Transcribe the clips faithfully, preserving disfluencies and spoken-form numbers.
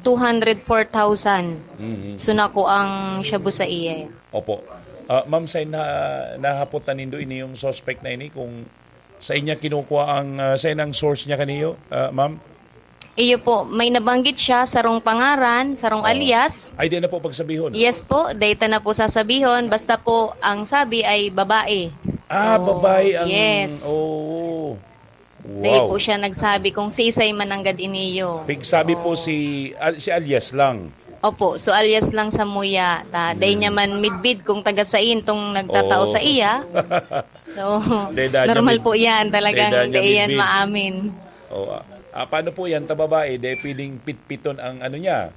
two hundred four thousand. Mhm. So, nakuang shabu sa iya. Opo. Ah, ma'am, sa na-, nahapot na nindo ini yung suspect na ini kung sa inya kinukuha ang, ah, sa inang source niya kaniyo, ah, ma'am? Iyo po, may nabanggit siya, sarong pangaran, sarong Oo. alias. Ay, di na po pagsabihon. Yes po, data na po sasabihon. Basta po, ang sabi ay babae. Ah, So, babae ang, yes. oo. Dai Wow. po siya nagsabi kung sisay man nanggad iniyo. Pigsabi po Oo. si, al-, si alias lang. Opo, so alias lang sa muya. Ta, dai Mm. niya man midbid kung taga sain tong nagtatao Oo. sa iya. So, Dai da niya normal mid-, po yan. dai Talagang da niya dai yan midbid. maamin. Oo, ah. Ah, paano po yan, ta babae? Dai pwedeng pitpiton ang ano niya.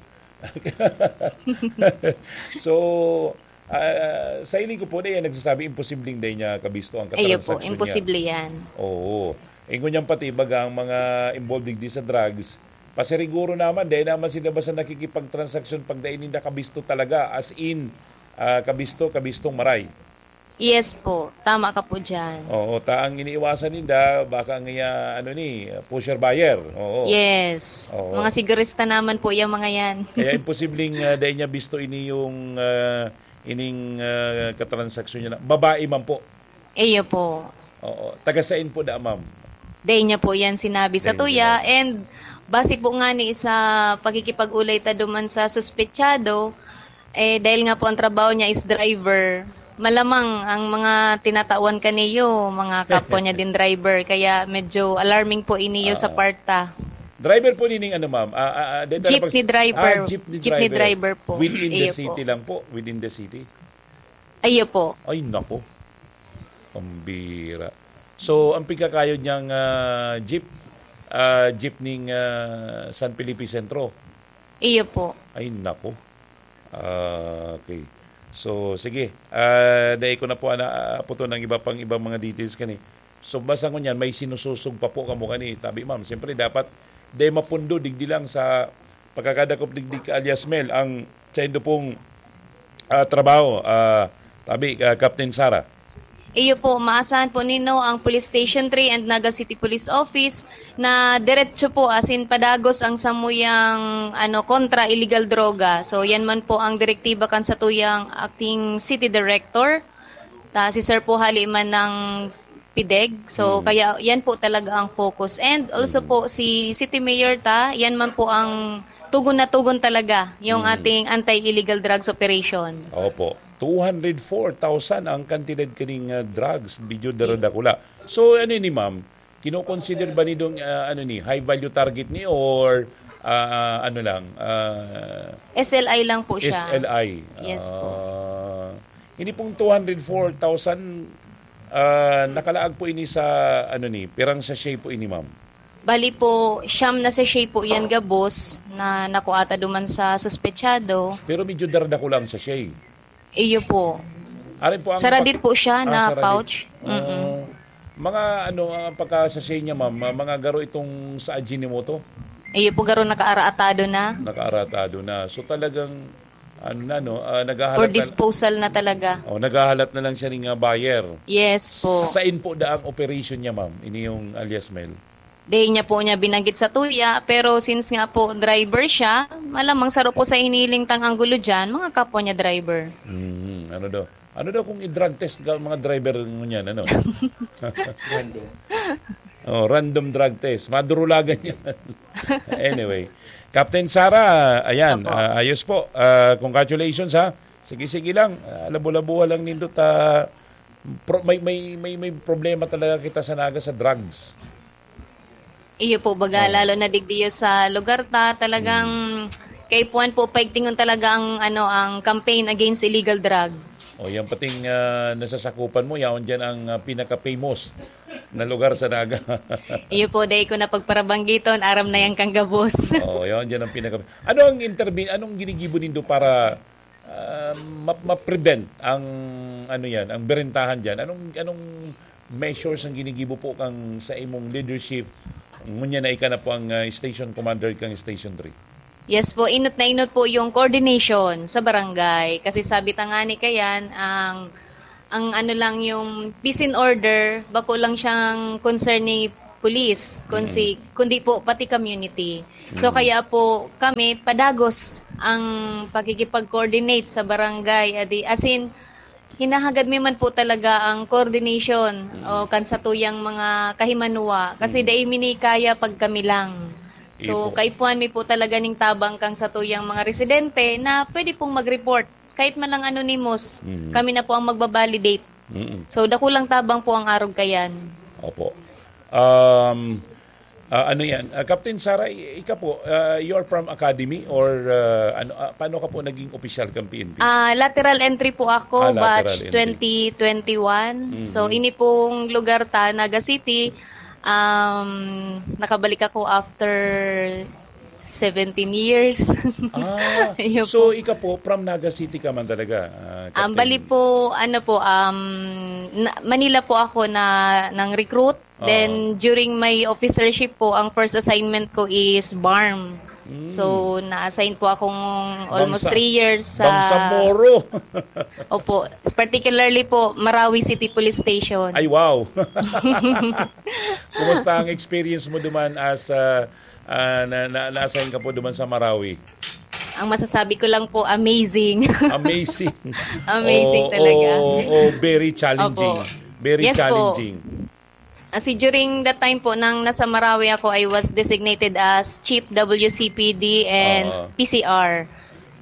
So, ah, sa hiling ko po, dai yan nagsasabi, imposibleng dai niya kabisto ang Iyo po, katransaksyon niya. imposible yan. Oo. Ingon niyang pati, baga ang mga involved digdi sa drugs, pasiriguro naman, dai naman sila basta nakikipagtransaksyon pag dai ninda kabisto talaga, as in, ah, kabisto, kabistong maray. Yes po, tama ka po dyan. Oo, ta ang iniiwasan ninda, baka ang iya, ano ni, pusher buyer. Oo. Yes. Oo. Mga sigurista naman po yung mga yan. Kaya imposibleng, ah, dai niya bisto ini yung, ah, ining, ah, katransaksyon niya na. Babae man po. Iyo po. Oo. Taga sain po da, ma'am? Dai niya po yan sinabi sa Dai tuya. niya. And base po nga ni sa pakikipag-ulay ta duman sa suspetsado, eh, dahil nga po ang trabaho niya is driver, malamang ang mga tinatawan kaniyo, mga kapwa niya din driver, kaya medyo alarming po iniyo sa Ah. part ta. Driver po nining ano, ma'am? Ah, ah, ah, dito na Jeepney pag-, driver. ah, jeepney Jeepney driver. driver po. Within the Iyo city po. lang po, within the city? Iyo po. Ay, nako. Pambira. So, ang pigkakayod niyang, ah, jeep, ah, jeep ning, ah, San Felipe Centro? Iyo po. Ay, nako. Ah, okay. So, sige. Ah, dai ko na po ana, ah, puto ng iba pang ibang mga details kani. So, basta ngunyan, may sinususog pa po kamo kani. Tabi, ma'am, siyempre, dapat dai mapundo, digdi lang sa pagkakadakop digdi ka alias Mel, ang saindo pong, ah, trabaho, ah, tabi, ah, Captain Sara. Iyo po, maasahan po nino ang Police Station three and Naga City Police Office na diretso po, as in, padagos ang samuyang, ano, kontra illegal droga. So, yan man po ang direktiba kan satuyang acting city director. Ta, si Sir po hali man ng pideg. So, Mm. kaya yan po talaga ang focus. And also Mm. po, si City Mayor ta, yan man po ang tugon na tugon talaga, yung Mm. ating anti-illegal drugs operation. Opo. Two hundred four thousand ang kantidad kaning, ah, drugs, medyo daradakula. So, ano ni ma'am, kinoconsider ba nidong, ah, ano ni, high value target ni or, ah, ano lang, ah, S L I lang po siya. S L I? Yes po. Ah, ini pong two hundred four thousand, ah, nakalaag po ini sa, ano ni, pirang sachet po ini, ma'am? Bali po, siyam na sachet po yan gabos na nakuha ta duman sa suspetsado. Pero medyo daradakula ang sachet. Iyo po. Arin po ang Saradit pag-, po siya ah, na saradit. pouch. Mm-mm. Oh. Mga ano, ang pagka-sachet niya, ma'am, ma-, mga garo itong sa Ajinomoto? Iyo po, garo nakaaraatado na. Nakaaraatado na. So, talagang, ano na, no, ah, For naghahalat na disposal na talaga. Oh, naghahalat na lang siya ng, ah, buyer. Yes po. Sain po da ang operation niya, ma'am? Ini yung alias Mel? Dai niya po niya binanggit sa tuya, pero since nga po driver siya, malamang saro po sa hiniling tang anggulo diyan, mga kapwa niya driver. Mm, ano daw? Ano daw kung i-drug test ka, mga driver ngunyan, ano? Random. Oh, random drug test. Madurulagan yan. Anyway, Captain Sara, ayan, Opo. ah, ayos po. Ah, congratulations, ha. Sige, sige lang. Ah, labo-labuhan lang nindot, ah, pro-, may, may, may, may problema talaga kita sa Naga sa drugs. Iyo po, baga, Oo. lalo na digdiyo sa lugar ta, talagang Mm. kaipuhan po, paigtingon talaga ang, ano, ang campaign against illegal drug. O, yan pating, ah, nasasakupan mo, yaon dyan ang, ah, pinaka-famous na lugar sa Naga. Iyo po, dai ko na pagparabanggiton, aram na yan kang gabos. Oo, yaon dyan ang pinaka-, ano ang intervene, anong ginigibo nindo para ah, ma-, ma-prevent ang, ano yan, ang berentahan dyan? Anong, anong measures ang ginigibo po kang sa imong leadership? Ngunyan na ika na po ang, ah, station commander kang Station three. Yes po, inot na inot po yung coordination sa barangay. Kasi sabi ta nga ni Kayan, ang, ang ano lang yung peace and order, bako lang siyang concern ni police, kun Mm. si kundi po pati community. So, Mm. kaya po kami padagos ang pakikipag-coordinate sa barangay. Adi, as in, hinahagad mi man po talaga ang coordination Mm. o kan satuyang mga kahimanwa. Kasi Mm. dai mi ni kaya pag kami lang. So, Ipo. kaipuhan mi po talaga ning tabang kan satuyang mga residente na pwede pong mag-report. Kahit man lang anonymous, Mm. kami na po ang magba-validate. Mm. So, dakulang tabang po ang arog kayan. Opo. Um, ah, ano yan? Ah, Captain Sara, i-, ika po, ah, you are from academy or, ah, ano, ah, paano ka po naging opisyal kang P N P? Ah, lateral entry po ako, Ah, lateral batch entry. twenty twenty-one. Mhm. So, ini pong lugar ta, Naga City, um, nakabalik ako after seventeen years. Ah, Ayun so po. ika po, from Naga City ka man talaga, ah, Ang Captain? bali po, ano po, um, na, Manila po ako na nang recruit. Oo. Then, during my officership po, ang first assignment ko is BARMM. Mm. So, na-assign po akong almost Bangsa-, three years sa Bangsamoro. Opo, particularly po, Marawi City Police Station. Ay, wow. Kumusta ang experience mo duman as, ah, ah, na, na, na-assign ka po duman sa Marawi? Ang masasabi ko lang po, amazing. Amazing. Amazing O, talaga. o, o, very challenging. Opo. Very Yes po. challenging. Kasi during that time po, nang nasa Marawi ako, I was designated as Chief W C P D and Oo. P C R.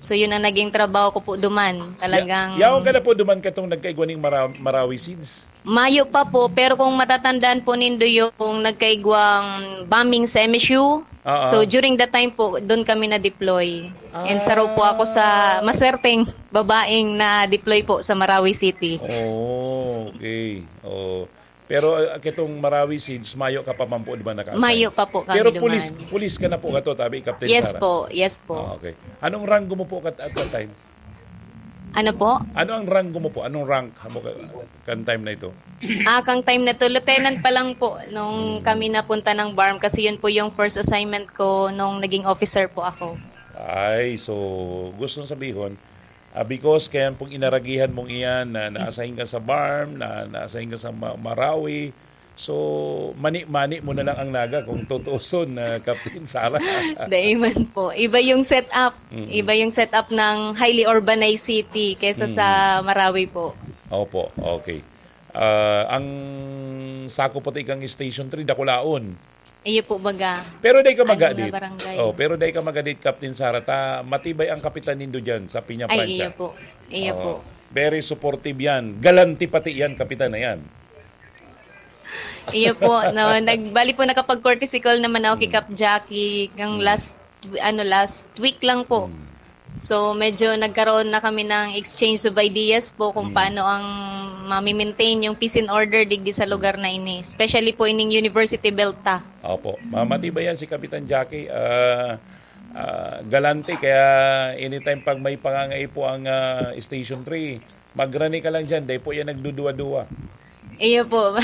So, yun ang naging trabaho ko po duman. Ya-, Talagang yaon ka na po duman katong nagkaigwa ning Mara-, Marawi SIDS? Mayo pa po, pero kung matatandaan po nindo yung nagkaigwang bombing sa M S U, Oo. so during that time po, doon kami na-deploy. And saro po ako sa Ah. maswerteng babaeng na-deploy po sa Marawi City. Oh, okay. Oh. Pero, ah, kitong Marawi SIDS, mayo ka pa man po, di ba, naka-assign? Mayo pa po kami Pero duman. pulis, pulis ka na po kato, tabi, Captain Yes Sara? po, yes po. Ah, okay. Anong ranggo mo po kat-, at that time? Ano po? Ano ang ranggo mo po? Anong rank mo ka-, kan time na ito? Ah, kang time na to, lieutenant pa lang po nung Hmm. kami napunta ng BARMM kasi yun po yung first assignment ko nung naging officer po ako. Ay, so, gustong sabihon, ah, because kaya pong inaragihan mong iyan na na-assign ka sa BARMM, na na-assign ka sa Ma-, Marawi, so, mani-mani mo na lang ang Naga kung tutuuson na Captain Sara. Dai man po. Iba yung setup. Mm. Iba yung setup ng highly urbanized city kaysa sa Mm. Marawi po. Opo, okay. Ah, ang sako pati kang Station three, dakulaon. Iyo po, baga. Pero dai ka Ano magadit. na barangay? Oh, pero dai ka magadit, Captain Sara, ta matibay ang kapitan nindo dyan sa Piña Ay, Francia. iyo po. Iyo Oo. po. Very supportive yan. Galante pati yan, kapitan na yan. Iyo po, no. Nag-, bali po, nakapag-courtesy call naman ako kay Hmm. Cap Jackie ng Hmm. last, ano, last week lang po. Hmm. So, medyo nagkaroon na kami ng exchange of ideas po kung Hmm. paano ang mami-maintain yung peace and order digdi sa lugar na ini, especially po ining University Belt ta. Opo. Ma-, matibay yan si Kapitan Jackie. Ah, ah, galante, kaya anytime pag may pangangaipo ang, ah, Station three, magrani ka lang dyan, dai po yan nagduduwa-duwa. Iyo po.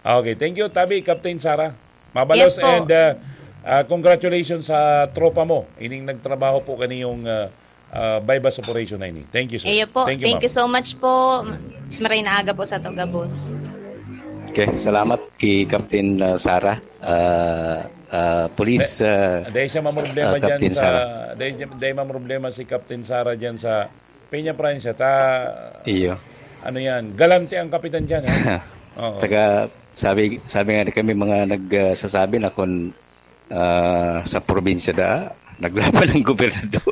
Okay, thank you, tabi, Captain Sara. Mabalos Yes po. and, ah, ah, congratulations sa tropa mo. Ining nagtrabaho po kaniyong, ah, ah, buy-bust operation na ini. Thank you, sir. Iyo po. Thank you, Thank you ma'am. so much po. Mas maray na aga po sa Togabos. Okay, salamat kay Captain, ah, Sara. Ah, ah, police, Dai-, ah, dai siya mamroblema ah, dyan Captain sa, Sara. dai, dai mamroblema si Captain Sara dyan sa Peña Francia. Ta-, Iyo. ano yan, galante ang kapitan dyan, ha? Oo. Saka, sabi, sabi nga kami mga nag, ah, sasabi na kung, ah, sa probinsya da, naglaban ang gobernador.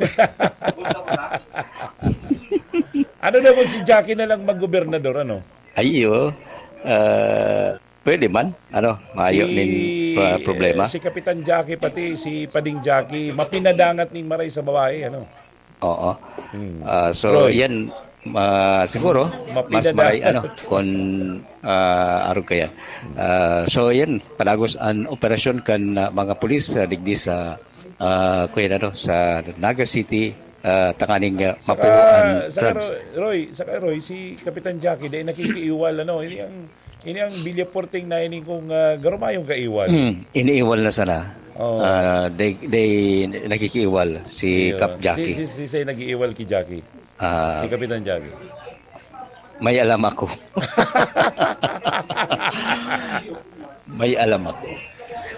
Ano daw kung si Jackie na lang maggobernador, ano? Ay, iyo. Ah, pwede man. Ano, mayo Si, nin, ah, problema. si Kapitan Jackie, pati si Pading Jackie, mapinadangat ning maray sa babae, ano? Oo. Hmm. Ah, so, Roy. yan, ah, siguro, mas Mapinadangat. maray, ano, kung, ah, arog ka yan. Ah, so, yan, padagos an operasyon kan, ah, mga pulis, ah, digdi sa, ah, kuya, ano, sa Naga City, ah, tanganing, ah, Saka, mapuho an saka, drugs. Roy, Roy, saka, Roy, si Kapitan Jackie, dai nakikiiwal, ano, ini ang, ini ang Villafuerte na ini kung, ah, garumayong kaiwal. Hmm, iniiwal na sana. Oo. Ah, dai, dai nakikiiwal si Iyo. Cap Jackie. Si, si, si, si nag-iiwal ki Jackie. Ah, Ki Kapitan Jackie. may alam ako. May alam ako.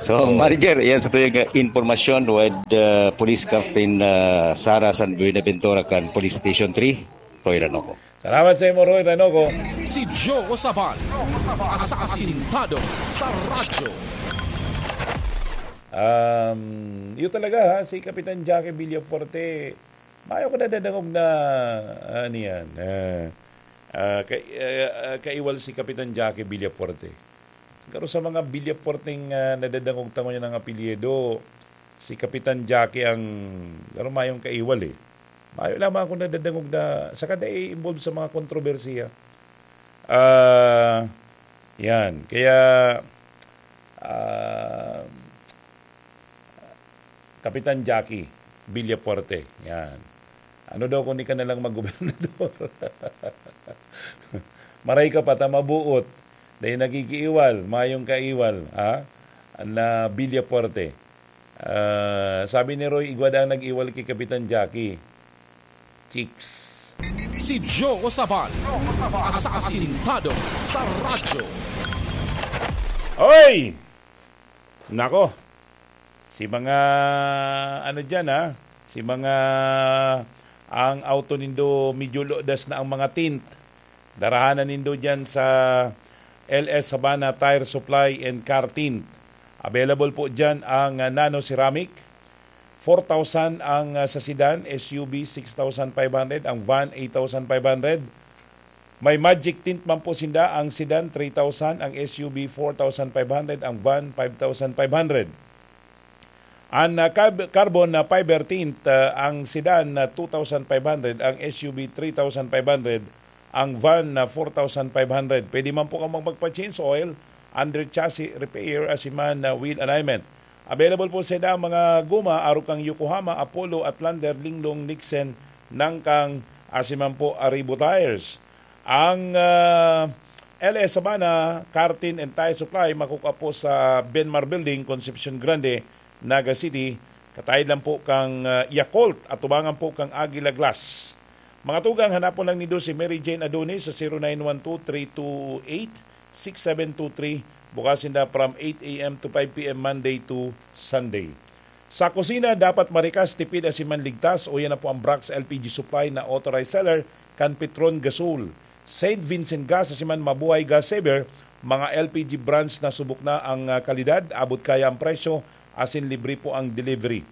So, Oh. Manager, yan sa tuyang, uh, impormasyon with, uh, Police Captain, uh, Sara San Buenaventura kan Police Station three, Roy Ranoco. Salamat sa imo, Roy Ranoco. Si Joe Sabal, asasintado sa radyo. Um, yun talaga, ha, si Kapitan Jackie Villafuerte, mayo ko nadadangog na, ano yan, ah, ah, ka-, ah, ah, kaiwal si Kapitan Jackie Villafuerte. Pero sa mga Villafuerteng, ah, nadadangog ta ngunyan ang apelyido, si Kapitan Jackie ang, pero mayong kaiwal eh. Mayo lamang ako nadadangog na, saka dai involved sa mga kontrobersiya. Ah, yan. Kaya, ah, Kapitan Jackie Villafuerte. Yan. Ano daw kung di ka na lang maggobernador? Maray ka pa, ta mabuot. Dahil nakikiiwal, mayong kaiwal, ha? Na Villafuerte. Ah, sabi ni Roy, igwa daang nag-iwal ki Kapitan Jackie. Chicks. Si Joe Sabal, asasintado sa radyo. Oy! Nako, si mga, ano dyan, ha? Si mga, ang auto nindo, medyo lodas na ang mga tint. Darahanan nindo dyan sa L S Sabana Tire Supply and Car Tint. Available po dyan ang, ah, Nano Ceramic, four thousand ang, ah, sa sedan, S U V six thousand five hundred, ang van eight thousand five hundred. May Magic Tint man po sinda, ang sedan three thousand, ang S U V four thousand five hundred, ang van five thousand five hundred. Ang, ah, cab-, carbon na fiber tint, ah, ang sedan na two thousand five hundred, ang S U V three thousand five hundred, ang van na four thousand five hundred. Pwede man po kamo magpa-change oil, under chassis repair, asiman na wheel alignment. Available po sa mga goma, arog kan Yokohama, Apollo, Outlander, Linglong, Nixon, Nangkang, asiman po Arribo Tires. Ang, ah, L S Sabana, Car Tint and Tire Supply, makukua po sa Benmar Building, Concepcion Grande, Naga City. Kataid lang po kang, ah, Yakult, atubangan po kang Aguila Glass. Mga tugang, hanapon lang nindo si Mary Jane Adonis sa zero nine one two three two eight six seven two three. Bukas sinda from eight a m to five p m, Monday to Sunday. Sa kusina, dapat marikas, tipid, asin man ligtas, uya na po ang Brax L P G Supply na authorized seller kan Petron Gasol. Saint Vincent Gas, asin man Mabuhay Gas Saver, mga L P G brands na subok na ang, ah, kalidad, abot kaya ang presyo, asin libre po ang delivery.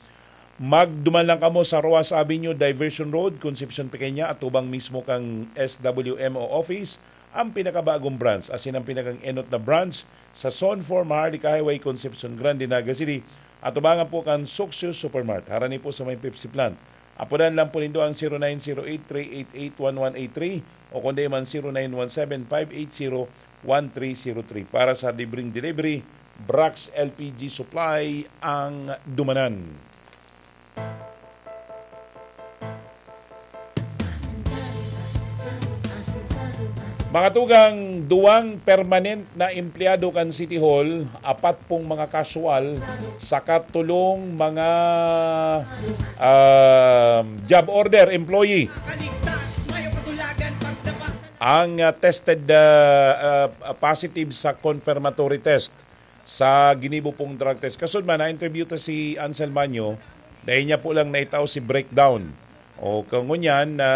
Magduman lang kamo sa Roxas Avenue, Diversion Road, Concepcion Pequeña, atubang mismo kan S W M O office, ang pinakabagong branch, asin ang pinakang-enot na branch sa Zone four Maharlika Highway, Concepcion Grande, Naga City, atubangan po kan Suksyo Supermart. Harani po sa may Pepsi plant. Apodan lang po nindo ang zero nine zero eight three eight eight one one eight three o kundi man zero nine one seven five eight zero one three zero three. Para sa libreng delivery, Brax L P G Supply ang dumanan. Mga tugang, duwang permanent na empleyado kan City Hall, apat pong mga casual, saka tulong mga, um, job order employee ang, uh, tested, uh, uh, positive sa confirmatory test sa ginibo pong drug test. Kasunod man, na-interview ta si Ansel Manyo, dahil niya po lang naitao si breakdown. O, kangunyan, na,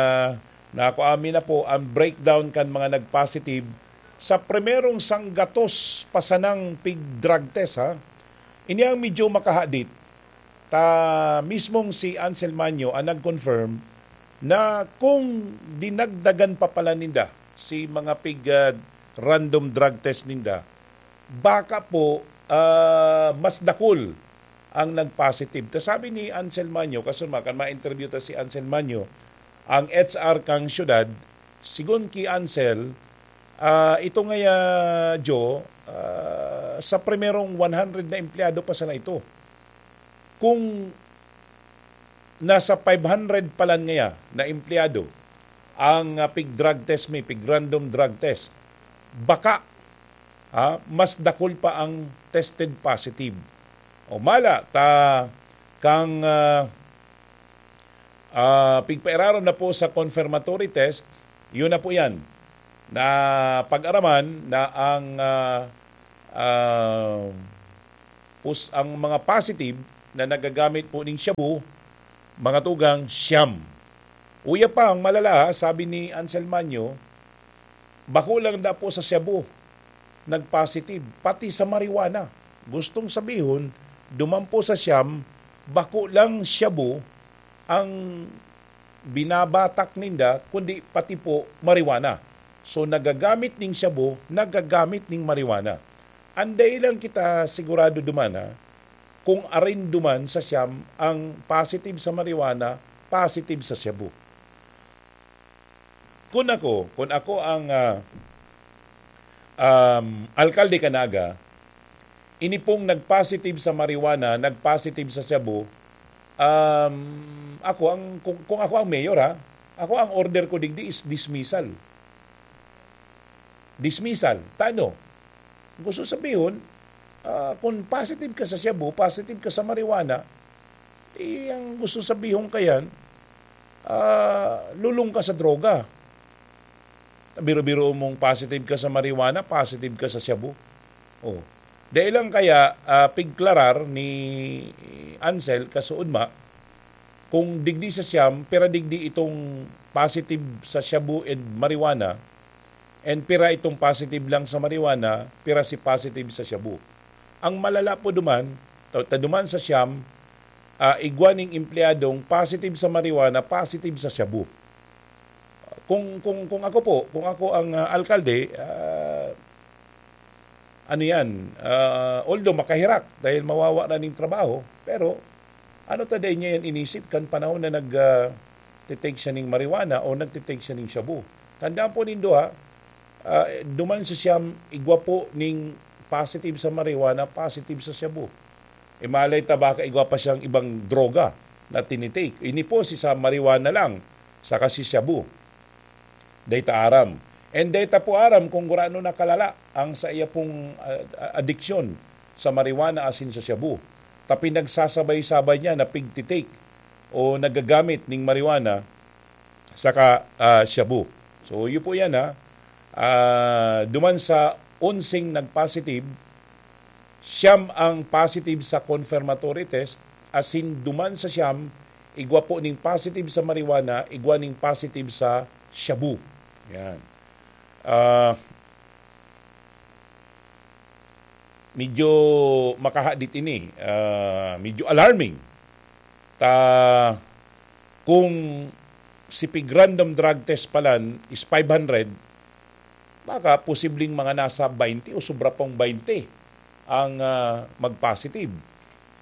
na ako amin na po ang breakdown kan mga nag-positive sa primerong sanggatos pa sanang pig-drug test, ha? Ini ang medyo makahadit. Ta mismong si Ansel Manyo ang nag-confirm na kung dinagdagan pa pala ninda si mga pig, ah, random drug test ninda, baka po, ah, mas dakul ang nag-positive. Ta sabi ni Ansel Manyo, kasunod man, kan ma-interview ta si Ansel Manyo, ang H R kang syudad, sigon ki Ansel, ah, ito nga ya, Joe, ah, sa primerong one hundred na empleyado pa sana ito. Kung nasa five hundred palan ngaya na empleyado ang, ah, pig-drug test mi, pig-random drug test, baka, ah, mas dakul pa ang tested positive. O mala, ta kang, ah, ah, pigpairarom na po sa confirmatory test, yun na po yan. Na pag-araman na ang, ah, Ah, pus-, ang mga positive na nagagamit po ning shabu, mga tugang, siyam. Uya pa, ang malala, ha, sabi ni Ansel Manyo, bako lang da po sa shabu nag-positive, pati sa marijuana. Gustong sabihon, duman po sa siyam, bako lang shabu ang binabatak ninda, kundi pati po marijuana. So, nagagamit ning shabu, nagagamit ning marijuana. Anday lang kita sigurado duman, ha, kung arin duman sa siyam ang positive sa marijuana, positive sa shabu. Kun ako, kun ako ang, ah, um, alkalde kan Naga, ini pong nag-positive sa marijuana, nag-positive sa shabu, um, ako ang, kung, kung ako ang mayor, ha, ako ang order ko digdi is dismissal. Dismissal. Tano? Gusto sabihon, ah, kung positive ka sa shabu, positive ka sa marijuana, eh, ang gusto sabihon kayan, ah, lulong ka sa droga. Biro-biro mong positive ka sa marijuana, positive ka sa shabu. Oh. Dai lang kaya, ah, pigklarar ni Ansel kasuodma, kung digdi sa siyam, pira digdi itong positive sa shabu and marijuana, and pira itong positive lang sa marijuana, pira si positive sa shabu. Ang malala po duman, ta, ta duman sa siyam, ah, igwa ning empleyadong positive sa marijuana, positive sa shabu. Kung, kung, kung ako po, kung ako ang, ah, alkalde, ah, ano yan, ah, although makahirak dahil mawawa na ning trabaho, pero ano ta dai niya yan inisip kan panahon na nag, ah, titake siya ning marijuana o nagtitake siya ning shabu? Tandaan po nindo, ha, ah, duman sa siyam, igwa po ning positive sa marijuana, positive sa shabu. E malay ta baka igwa pa siyang ibang droga na tinitake. Ini po si sa marijuana lang, saka si shabu. Dai ta aram. And dai ta po aram kung gurano na kalala ang saiya pong, ah, ah, adiksyon sa marijuana asin sa shabu. Ta pinagsasabay-sabay niya na pigtitake o nagagamit ning marijuana saka, ah, shabu. So, iyo po yan, ha. Ah, duman sa onseng nag-positive, siyam ang positive sa confirmatory test, asin duman sa siyam, igwa po ning positive sa marijuana, igwa ning positive sa shabu. Yan. Ah, medyo makahadit ini, ah, medyo alarming. Ta, kung si pig random drug test palan is five hundred, baka posibleng mga nasa baynte o sobra pang baynte ang, ah, mag-positive.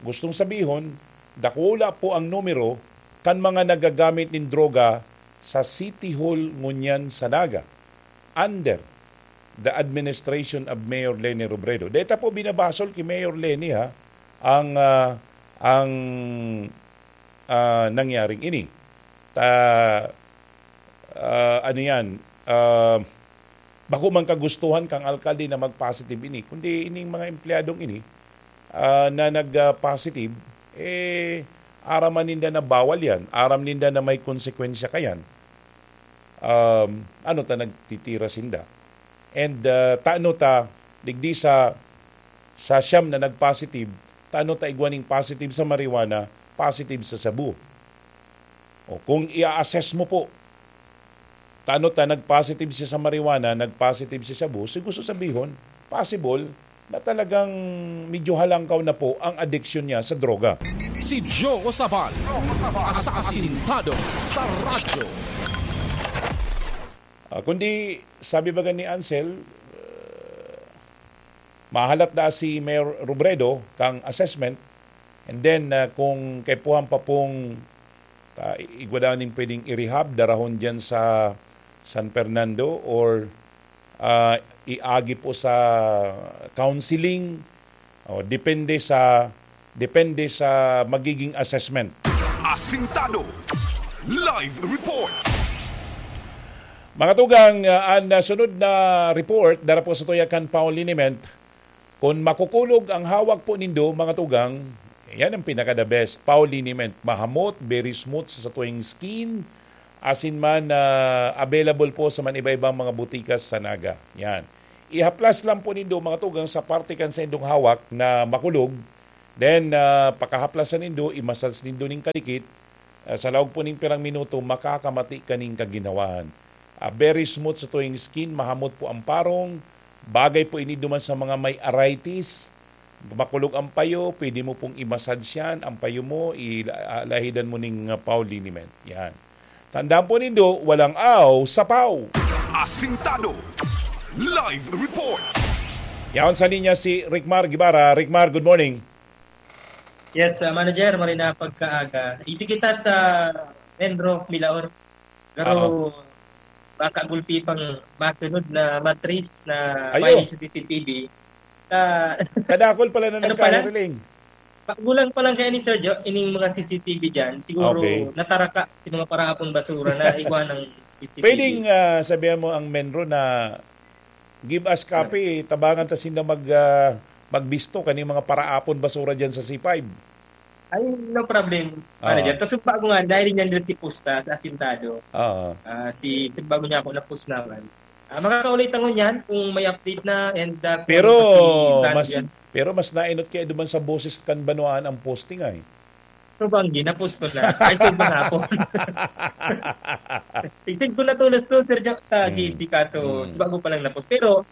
Gustong sabihon, dakula po ang numero kan mga nagagamit nin droga sa City Hall ngunyan sa Naga, under the administration of Mayor Leni Robredo. Deta po binabasol ki Mayor Leni, ha, ang, ah, ang, ah, nangyaring ini. Ta, ah, ano yan, ah, bako man kagustuhan kang alkalde na mag-positive ini, kundi ining mga empleyadong ini, ah, na nag, ah, positive, eh, aram man ninda na bawal yan, aram ninda na may konsekwensya kayan, um, ano ta nagtitira sinda? And, ah, tano ta, digdi sa, sa siyam na nag-positive, tano ta igwa ning positive sa marijuana, positive sa shabu? O, kung i-assess mo po, tano ta nag-positive siya sa marijuana, nag-positive siya sa shabu, so gusto sabihon, possible na talagang medyo halangkaw na po ang adiksyon niya sa droga. Si Joe Sabal, asasintado sa radyo. Ah, kundi, sabi baga ni Ansel, ah, mahalat na si Mayor Robredo kang assessment, and then, ah, kung kaipuhan pa pong, ah, igwa daw ning pwedeng i-rehab, darahon dyan sa San Fernando, or, ah, iagi po sa counseling, o depende sa, depende sa magiging assessment. Asintado. Live report. Mga tugang, ah, an, ah, sunod na report, dara po sa tuya kan Paul Liniment. Kun makukulog ang hawak po nindo, mga tugang, yan ang pinaka-the best. Paul Liniment, mahamot, very smooth sa satuing skin, asin man, ah, available po sa man iba-ibang mga botika sa Naga. Yan. Ihaplas lang po nindo, mga tugang, sa parte kan saindong hawak na makulog. Then, ah, pakahaplasan nindo, i-massage nindo ning kadikit. Ah, sa laog po ning pirang minuto, makakamati ka ning kaginhawaan. Ah, very smooth sa tuwing skin, mahamot po ang parong. Bagay po ini duman sa mga may arthritis. Makulog ang payo, pwede mo pong i-massage yan. Ang payo mo, i-, ah, lahidan mo ning, ah, paw liniment. Yan. Tandaan po nindo, walang aw sa paw. Asintado. Live report. Yaon sa linya si Rickmar Guevara. Rickmar, good morning. Yes, uh, Manager, maray na pagkaaga. Dito kita sa Menro, Milaor. Pero Oo. baka gulpi pang masunod na matris na Ayo. may sa C C T V. Sa Kadakol pala na Ano pala? nagkahiriling. Pagulang pa lang kaya ni Sir Jo, ining mga C C T V dyan, siguro Okay. nataraka si mga paraapon basura na igwa ng C C T V. Pwedeng, ah, sabihan mo ang Menro na give us copy, tabangan ta sinda mag, ah, magbisto kaning mga paraapon basura dyan sa C five. Ay, no problem, Ah. Manager. Kasi bago nga, dahil yan dyan si Pusta, sa Asintado. Oo. Ah, si, si bago niya ako napusnawan. Ah, makakaulay ta ngunyan kung may update na and, ah, kung Pero ano pa si Brad mas, dyan. pero mas nainot kaya duman sa boses kan Banwaan ang posting ay. So, Banggi, na-post ko na. Ay, send mo na ako. I-send ko na to, last to, Sir Jo, sa Hmm. G C, kaso Hmm. si bago pa lang na-post. Pero,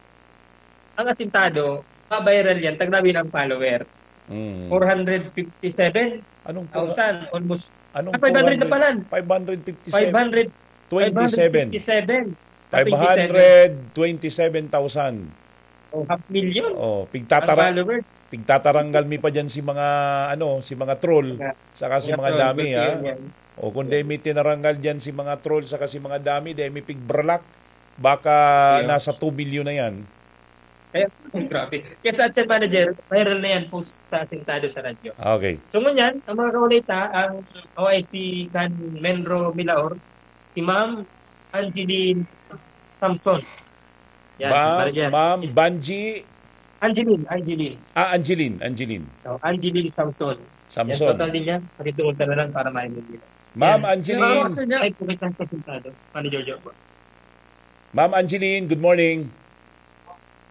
ang Asintado, pa-viral yan, taglabi ng follower. Hmm. Four hundred fifty-seven Anong four thousand, almost. Anong Ah, five hundred na four hundred? pala. Five hundred fifty-seven. Five hundred, Twenty-seven. five hundred fifty-seven. Ah, twenty-seven. Five hundred twenty-seven thousand. Oh, half million Oh, ang pigtatara-, followers. pigtataranggal mi pa dyan si mga, ano, si mga troll, Mga, saka si mga mga troll, dami, good ha? yun yan. O, kung Yeah. di mi tinaranggal dyan si mga troll, saka si mga dami, di mi pigbralak, baka Yeah. nasa two million na yan. Kaya, grabe. Kaya sa Chat Manager, viral na yan, post sa Asintado sa radyo. Okay. So, ngunyan, ang mga kaulay ta, ang O I C kan Menro Milaor, si Ma'am Angeline Samson. Yan, Ma'am, Manager. Ma'am Banji. Angeline, Angeline. Ah, Angeline, Angeline. Oh, Angeline Samson. Samson. Yan, total din yan. Pakitungod ka na lang para maintindihan. Ma'am Yan. Angeline. Ma'am, Sir Joe. Ay, pukit lang sa Asintado. Manager Joe po. Ma'am Angeline, good morning.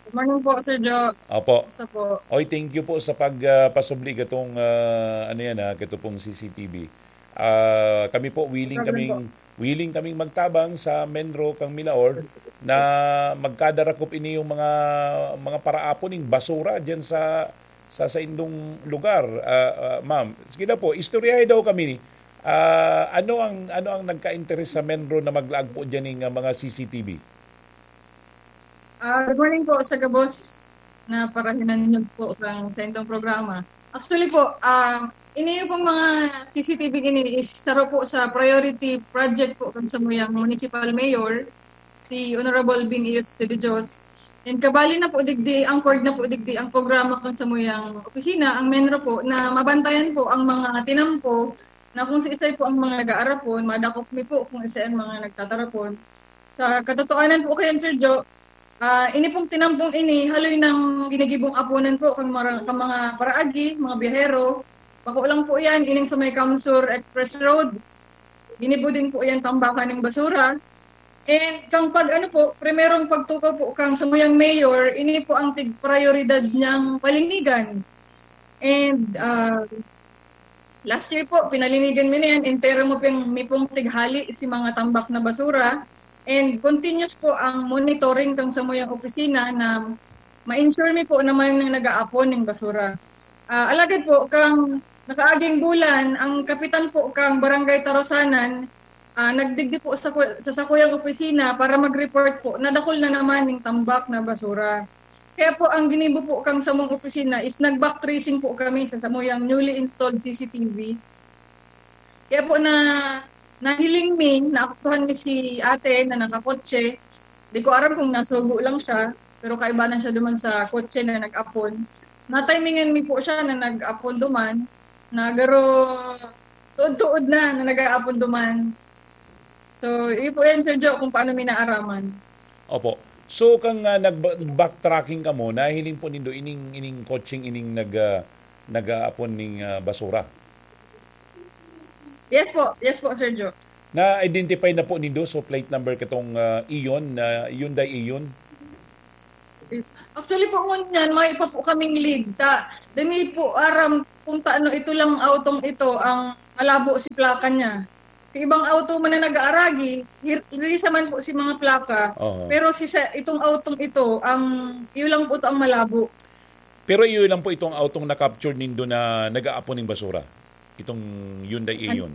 Good morning po, Sir Joe. Opo. Kumusta po? Oy, thank you po sa pag, ah, pasubli katong, ah, ano yan, ha, kato pong C C T V. Ah, kami po, willing Problem kaming, po. willing kaming magtabang sa Menro kang Milaor na magkadarakop ini yung mga, mga paraapon ning basura diyan sa, sa, sa indong lugar, ah, ah, ma'am. Sige na po, istoryahe daw kami ni, ah, ano ang, ano ang nagka-interes sa Menro na maglaag po diyan ning, ah, mga C C T V? Ah, good morning po sa gabos na parahinan niyo po kang sa indong programa. Actually po, ah, ini pong mga C C T V ini is saro po sa priority project po kang samuyang municipal mayor, si Honorable Bing Iyos de Dios. And kabali na po digdi, anchored na po digdi ang programa kang samuyang opisina, ang Menro po, na mabantayan po ang mga tinampo na kung siisay po ang mga nag-aarapon, madakop mi po kung isa ang mga nagtatarapon. Sa katotohanan po kayan, Sir Joe, ah, ini pong tinampong ini, haloy nang ginigibong apunan po kang mara-, kang mga paraagi, mga biyahero. Bako lang po yan, ining sa may Kamsur Express Road. Ginibo din po yan tambakan ng basura. And kang pag, ano po, primerong pagtukaw po kang samuyang mayor, ini po ang tig-prioridad niyang palinigan. And, ah, last year po, pinalinigan mi na yan. Entero mo ping, mi pong tighali si mga tambak na basura. And continuous po ang monitoring kang samuyang opisina na ma-ensure mi po na may nang nag-aapon ng basura. Ah, alagad po, kang nakaaging bulan, ang kapitan po kang Barangay Tarosanan, ah, nagdigdi po sa ku-, sa sakuyang opisina para mag-report po na dakul na naman yung tambak na basura. Kaya po, ang ginibo po kang samong opisina is nag-back tracing po kami sa samuyang newly installed C C T V. Kaya po na, nahiling mi, naaktuhan mi si ate na nakakotse. Di ko aram kung nasugo lang siya, pero kaibanan siya duman sa kotse na nag-apon. Natimingan mi po siya na nag-apon duman, na garo tuod-tuod na, na nag-aapon duman. So, iyo po yan, Sir Joe, kung paano mi naaraman. Opo. So, kang, ah, nag-, backtracking kamo, nahiling po nindo ining, ining kotseng ining nag, ah, nag-aapon ning, ah, basura? Yes po. Yes po, Sir Joe. Na-identify na po nindo, so plate number katong, ah, Eon, na Hyundai Eon? Actually po, ngunyan, may pa po kaming lead. Ta, dami po aram kung taano ito lang autong ito ang malabo si plaka niya. Si ibang auto man na nag-aaragi, hir-, hirisa man po si mga plaka. Oho. Pero si sa, itong autong ito, ang, yun lang po ito ang malabo. Pero iyo lang po itong autong na-capture nindo na nag-aapon ning basura? Itong Hyundai An- Eon?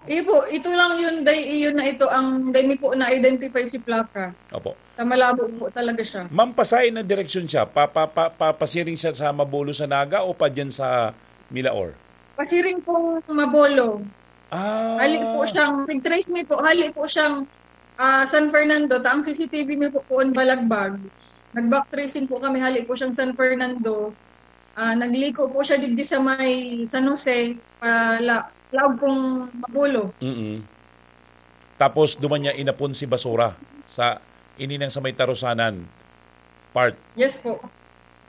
Iyo po, ito lang Hyundai Eon na ito ang dai mi po na-identify si plaka. Opo. Sa malabo po talaga siya. Ma'am, pasain na direksyon siya? Pa, pa, pa, pa, pasiring siya sa Mabolo sa Naga o pa dyan sa Milaor? Pasiring pong Mabolo. Ah. Hali po siyang, nag-trace mi po, hali po siyang, ah, San Fernando, ta ang C C T V mi po poon Balagbag. Nag-back tracing po kami, hali po siyang San Fernando. Ah, nagliko po siya digdi sa may San Jose, pala-, laog pong Mabolo. Mm-mm. Tapos duman niya inapon si basura sa, ini nang sa may Tarusanan part. Yes po.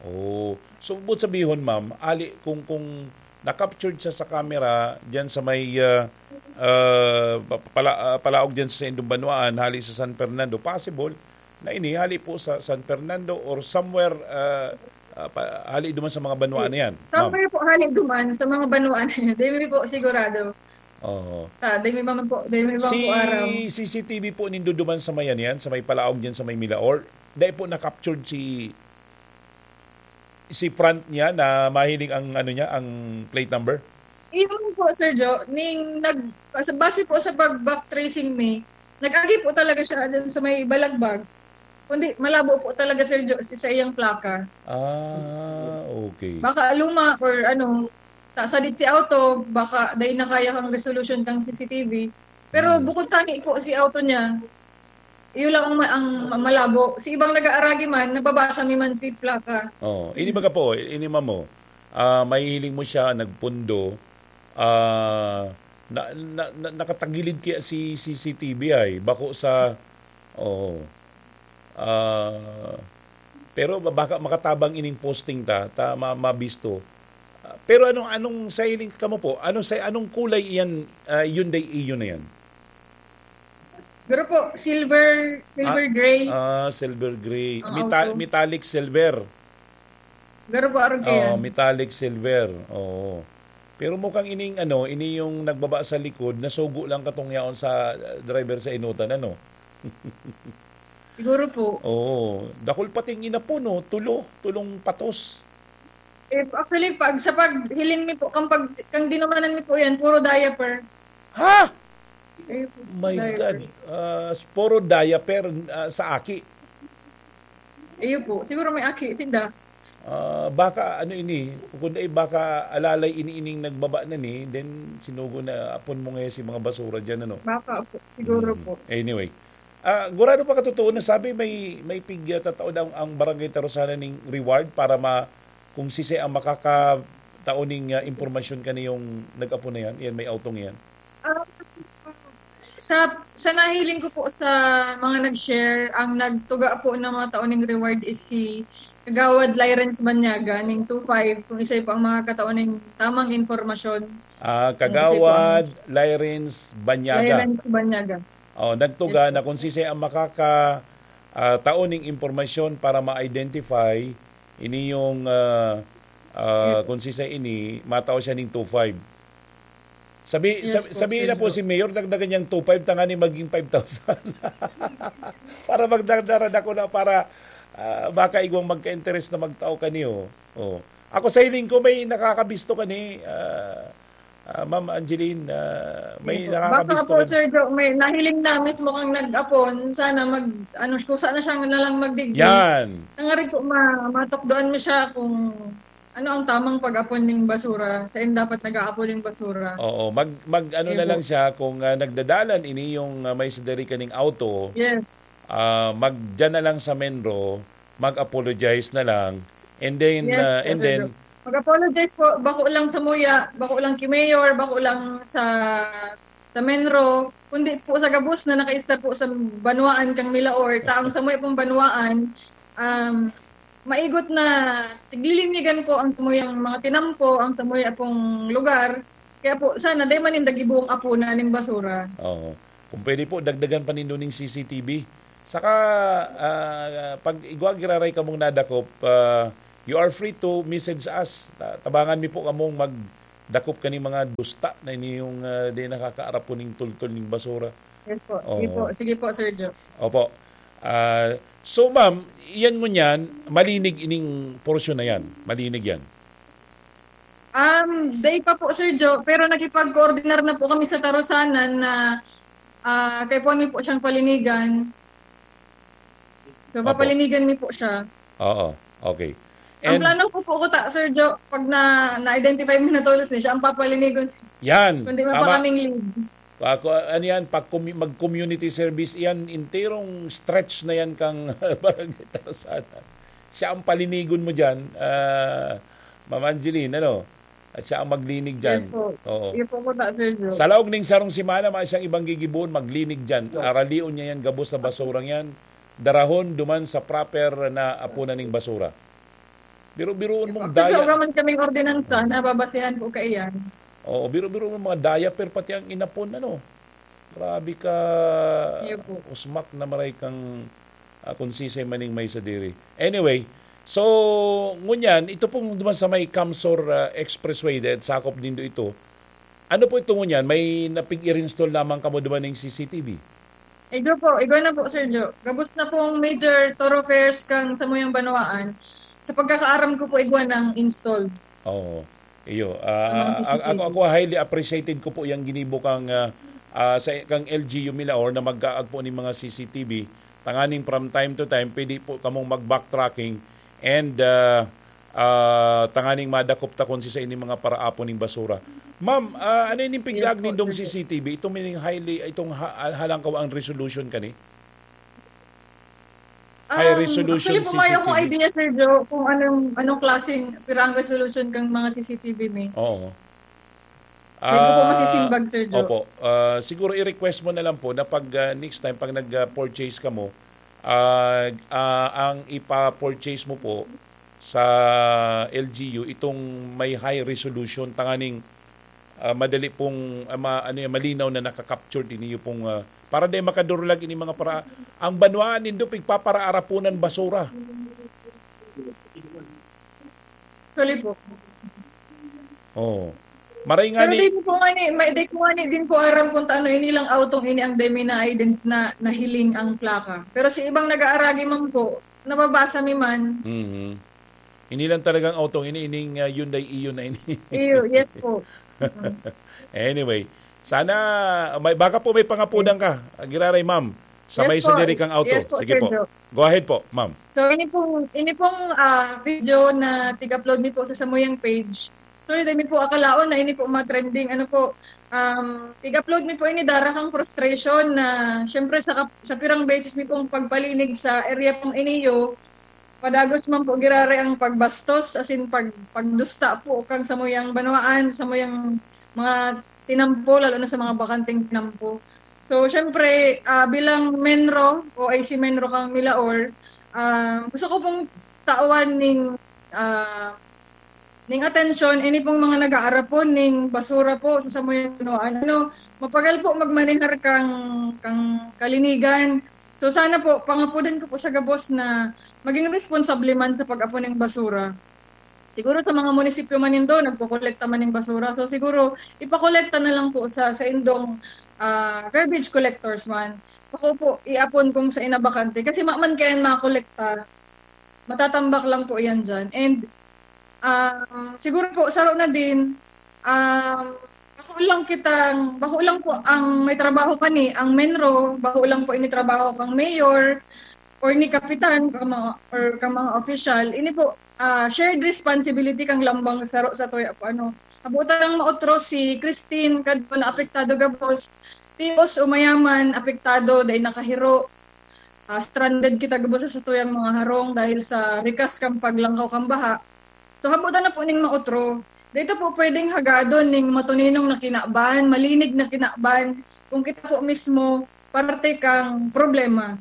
Oh. So, buot sabihon, ma'am, ali, kung, kung na-captured siya sa camera diyan sa may, ah, ah, pa-, pala-, ah, palaog diyan sa indong banwaan, hali sa San Fernando, possible na ini hali po sa San Fernando or somewhere, ah, ah, pa-, hali duman sa mga banwaan na yan, ma'am. Somewhere po hali duman sa mga banwaan na yan. Di mi po sigurado. Oo. Ta, di mi man po, di mi man Si po aram. C C T V po nindo duman sa may ano yan, sa may palaog diyan sa may Milaor. Dai po na-captured si, si front niya na mahiling ang ano niya, ang plate number? Iyon po, Sir Jo, ning nag-, sa, base po sa pag-back tracing mi, nag-agi po talaga siya dyan sa may Balagbag. Kundi malabo po talaga, Sir Jo, si, sa iyang plaka. Ah, okay. Baka luma or ano, ta-, sadit si auto, baka dai na kaya kang resolution kang C C T V. Pero Mm. bukod tani po si auto niya, iyo lang ang ma-, ang ma-, malabo. Si ibang nag-aaragi man, nababasa mi man si plaka. Oh, ini baga po, ini ma'am mo, ah, mahihiling mo siya, nagpundo, ah, na, na, na, nakatagilid kaya si C C T V ay, bako sa, oo. Ah, pero ba-, baka makatabang ining posting ta, ta ma-, mabisto. Ah, pero anong, anong sa hiling kamo po? Anong sa, anong kulay iyan, ah, Hyundai Eon na yan? Garo po, silver, silver Ah, gray. ah, silver gray. Ang Meta-, auto. metallic silver. Garo po, arog Oo, kaiyan. metallic silver. Oo. Pero mukhang ining ano, ini yung nagbaba sa likod, nasugo lang katong yaon sa, uh, driver sa inutan, ano? Siguro po. Oo. Dakul pating inapon, no? Tulo, tulong patos. Eh, actually, pag, sa paghiling mi po, kang pag, kang dinumanan mi po yan, puro diaper. Ha? Eh, My diaper. God. Ah, puro diaper, ah, sa aki. Iyo po. Siguro may aki, sinda. Ah, baka ano ini, kung dai baka alalay ini ining nagbaba na ni, then sinugo na apon mo ngayon si mga basura diyan, ano? Baka po, siguro Mm. po. Anyway. Ah, gurado pa katotoo na sabi may, may pig, ah, tataon ang, ang Barangay Tarusanan ning reward para ma-, kung sisay ang makakatao ning, ah, impormasyon kaniyong nag-apo na yan, yan may autong yan. Ah, sa, sa nahiling ko po sa mga nag-share, ang nagtuga po ng mga tao ning reward is si Kagawad Lyrens Banyaga ning two five, kung isay po ang makakatao ning tamang impormasyon. Ah, Kung isay po ang Kagawad Lyrens Banyaga. Lyrens Banyaga. Oh, nagtuga Yes po. na kung sisay ang makaka, ah, tao ning impormasyon para ma-identify ini yung, ah, ah, Yes. kung sisay ini, matao siya ning two five. Sabi, Yes sab-, po, sabihin Sir na po Jo. si Mayor, dagdagan niyang two five, tangani maging five thousand. Para magdagdaran ako na para, ah, baka igwang magka-interest na magtao kaniyo. Oh. Ako sa hiling ko, may nakakabisto kani, ah, ah, Ma'am Angeline, ah, may Yes po. Baka nakakabisto po, kani. Sir Jo, may nahiling na mismo kang nag-apon. Sana mag, ano, kusa na siya na lang magdigdi. Yan. Nangari po, ma-, matukdoan mo siya kung ano ang tamang pag-apon ning basura, sain dapat nag-aapon ning basura. Oo, mag, mag ano Ayun na po. lang siya, kung, ah, nagdadalan ini yung, ah, may sadari kaning auto, Yes. ah, mag, dyan na lang sa Menro, mag-apologize na lang, and then, Yes ah, po, and Sir then, Jo. Mag-apologize po, bako lang sa muya, bako lang ki Mayor, bako lang sa, sa Menro, kundi po sa gabos na nakaistar po sa banwaan kang Milaor, ta ang samuya pong banwaan, um, maigot na tiglilinigan po ang samuyang mga tinampo, ang samuya pong lugar. Kaya po, sana dai man ninda gibuong apunan ning basura. Oo. Kung pwede po, dagdagan pa nindo ning C C T V. Saka, ah, pag igwa giraray kamong nadakop, ah, you are free to message us. Ta-, tabangan mi po kamong magdakop kani mga dusta na inyong, ah, di nakakaarap po ning tultol ning basura. Yes po. Sige Oo. po. Sige po, Sir Joe. Opo. Ah, so, ma'am, iyan ngunyan, malinig ining porsyon na yan. Malinig yan. Um, day pa po, Sir Joe, pero nakipag-coordinar na po kami sa Tarosanan na, ah, kaipuhan mi po siyang palinigan. So, Opo. papalinigan mi po siya. Oo, okay. Ang And plano ko po, kuta, Sir Joe, pag na, na-identify mo na tolos ni siya, ang papalinigon. Yan, Kundi tama. mapakaming lead. Ako, ano yan, pag commu-, mag-community service yan, enterong stretch na yan kang Barangay Tarosanan. Siya ang palinigon mo dyan, ah, Ma'am Angeline, ano? At siya ang maglinig dyan. Yes po. Oo. Iyo po, kuta, Sir Joe. Sa laog ning sarong semana, may siyang ibang gigibohon, maglinig dyan. Aralion niya yan, gabos na basurang yan. Darahon duman sa proper na apunan ning basura. Biro-biroon mong Actually, daya. Uga man kaming ordinansa, nababasehan po kaiyan. Oo, biro-biro mong mga diaper, pati ang inapon, ano. Grabe ka Iyo po. usmak na maray kang, ah, kung sisay maning may sadiri. Anyway, so, ngunyan, ito pong duman sa may Kamsor, ah, Expressway, dahil sakop nindo ito. Ano po ito ngunyan? May napig-i-install lamang kamo duman ng C C T V? Igwa po, igwa na po, Sir Joe. Gabos na pong major thoroughfares kang samuyang banwaan. Sa pagkakaaram ko po, igwa ng install. Oo. Iyo. Ang mga Ah, C C T V. ako, ako highly appreciated ko po yung ginibo kang, ah, ah, sa, kang L G U Milaor na mag-aagpo ning mga C C T V. Tanganing from time to time, pwede po kamong mag-backtracking and, ah, ah, tanganing madakop ta kung sisay ning mga paraapon ning basura. Ma'am, ah, ano ining piglaag Yes po, nindong sir. C C T V? Itong mining highly, itong ha-, halangkaw ang resolution kani? High Um, resolution actually po, mayo akong C C T V. idea, Sir Joe, kung anong, anong klaseng, pirang resolution kang mga C C T V mi. Oo. Hindi ko po Ah, masisimbag, Sir Joe. opo. Ah, siguro i-request mo na lang po na pag, ah, next time, pag nag-purchase ka mo, ah, ah, ang ipa-purchase mo po sa L G U, itong may high resolution, tanganing, ah, madali pong, ah, ma-, ano yan, malinaw na nakakapture din iyo pong, ah, para di makadurlag ini mga para-, ang banwaan nindo, pigpaparaarapunan basura. Actually po. Oo. Maray nga Pero ni di ko nga ni, may, di ko nga ni, din po aram kung taano ini lang autong ini ang demi na ident-, na, nahiling ang plaka. Pero si ibang nag-aaragi man po, nababasa mi man. Mhm. Ini lang talagang autong ini, ining, ah, Hyundai Eon na ini. Iyo, yes po. Mm. Anyway, sana, may, baka po may pangapudan ka, ah, giraray, ma'am, sa Yes may po. sadiri kang auto. Yes po, Sige Sir po. Joe. Go ahead po, ma'am. So, ini pong, ini pong, ah, video na tig-upload mi po sa samuyang page. Actually, dai mi po akalaon na ini po ma-trending. Ano po, um, tig-upload mi po ini dara kang frustration na, syempre, sa kap-, sa pirang beses mi pong pagpalinig sa area pong iniyo, padagos man po giraray ang pagbastos, as in, pag-, pagdusta po kang samuyang banwaan, samuyang mga tinampo, lalo na sa mga bakanteng tinampo. So, syempre, ah, bilang MENRO o I C MENRO kang Milaor, ah, gusto ko pong tawan ning, ah, ning atensyon, ini pong mga nag-aarapon ning basura po sa samuyang banwaan. Ano, mapagal po magmanehar kang, kang kalinigan. So, sana po, pangapudan ko po sa gabos na maging responsable man sa pag-apon ning basura. Siguro sa mga munisipyo man nindo, nagkokolekta man ning basura. So, siguro, ipakolekta na lang po sa, sa indong, ah, garbage collectors man. Bako po, iapon kung sa inabakante. Kasi maman kayan makolekta, matatambak lang po yan dyan. And, ah, siguro po, saro na din, ah, bako lang kitang, bako lang po ang may trabaho kani, ang MENRO, bako lang po ini trabaho kang mayor, or ni kapitan, ka mga, or ka mga opisyal. Ini po, ah, shared responsibility kang lambang saro sa tuya po, ano. Habutan lang maotro si Christine, kadto na apektado gabos. Tios o mayaman, apektado, dai nakahiro. Ah, stranded kita gabos sa tuyang mga harong dahil sa rikas kang paglangkaw kang baha. So, habutan na po ning maotro. Dito po pwedeng hagadon ning matuninong na kinaban, malinig na kinaban, kung kita po mismo parte kang problema.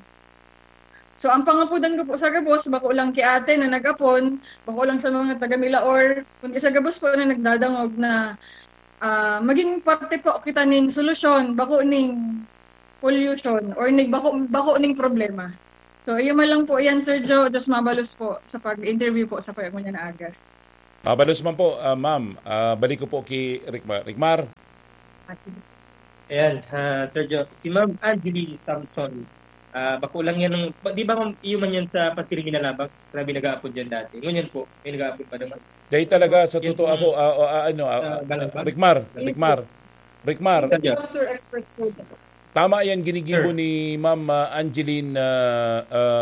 So, ang pangapudan ko po sa gabos, bako lang ki ate na nag-apon, bako lang sa mga taga Milaor, kundi sa gabos po na nagdadangog na, ah, maging parte po kita ning solusyon, bako ning pollution or nig-, bako, bako ning problema. So, iyo man lang po yan, Sir Joe. Diyos mabalos po sa pag-interview po sa pag-, ngunyan na aga. Mabalos man po, ah, ma'am. Ah, balik ko po ki Ricmar. Ricmar? Ayan, ah, Sir Joe. Si Ma'am Angeline Samson, ah, bako lang yan ng, ba, di ba, ma'am, iyo man yan sa Pasiringin na Labak? Grabe, nag-aapod yan dati. Ngunyan po, may nag-aapod pa naman. Dahil talaga, sa Yan totoo po, ako, ah, ah, ah, ano, ah, sa ah, Balaban? Ricmar, Yes, Ricmar, po. Ricmar. Sir Joe. Sir Express po. Tama yan, ginigibo Sir. ni Ma'am, ah, Angeline, ah,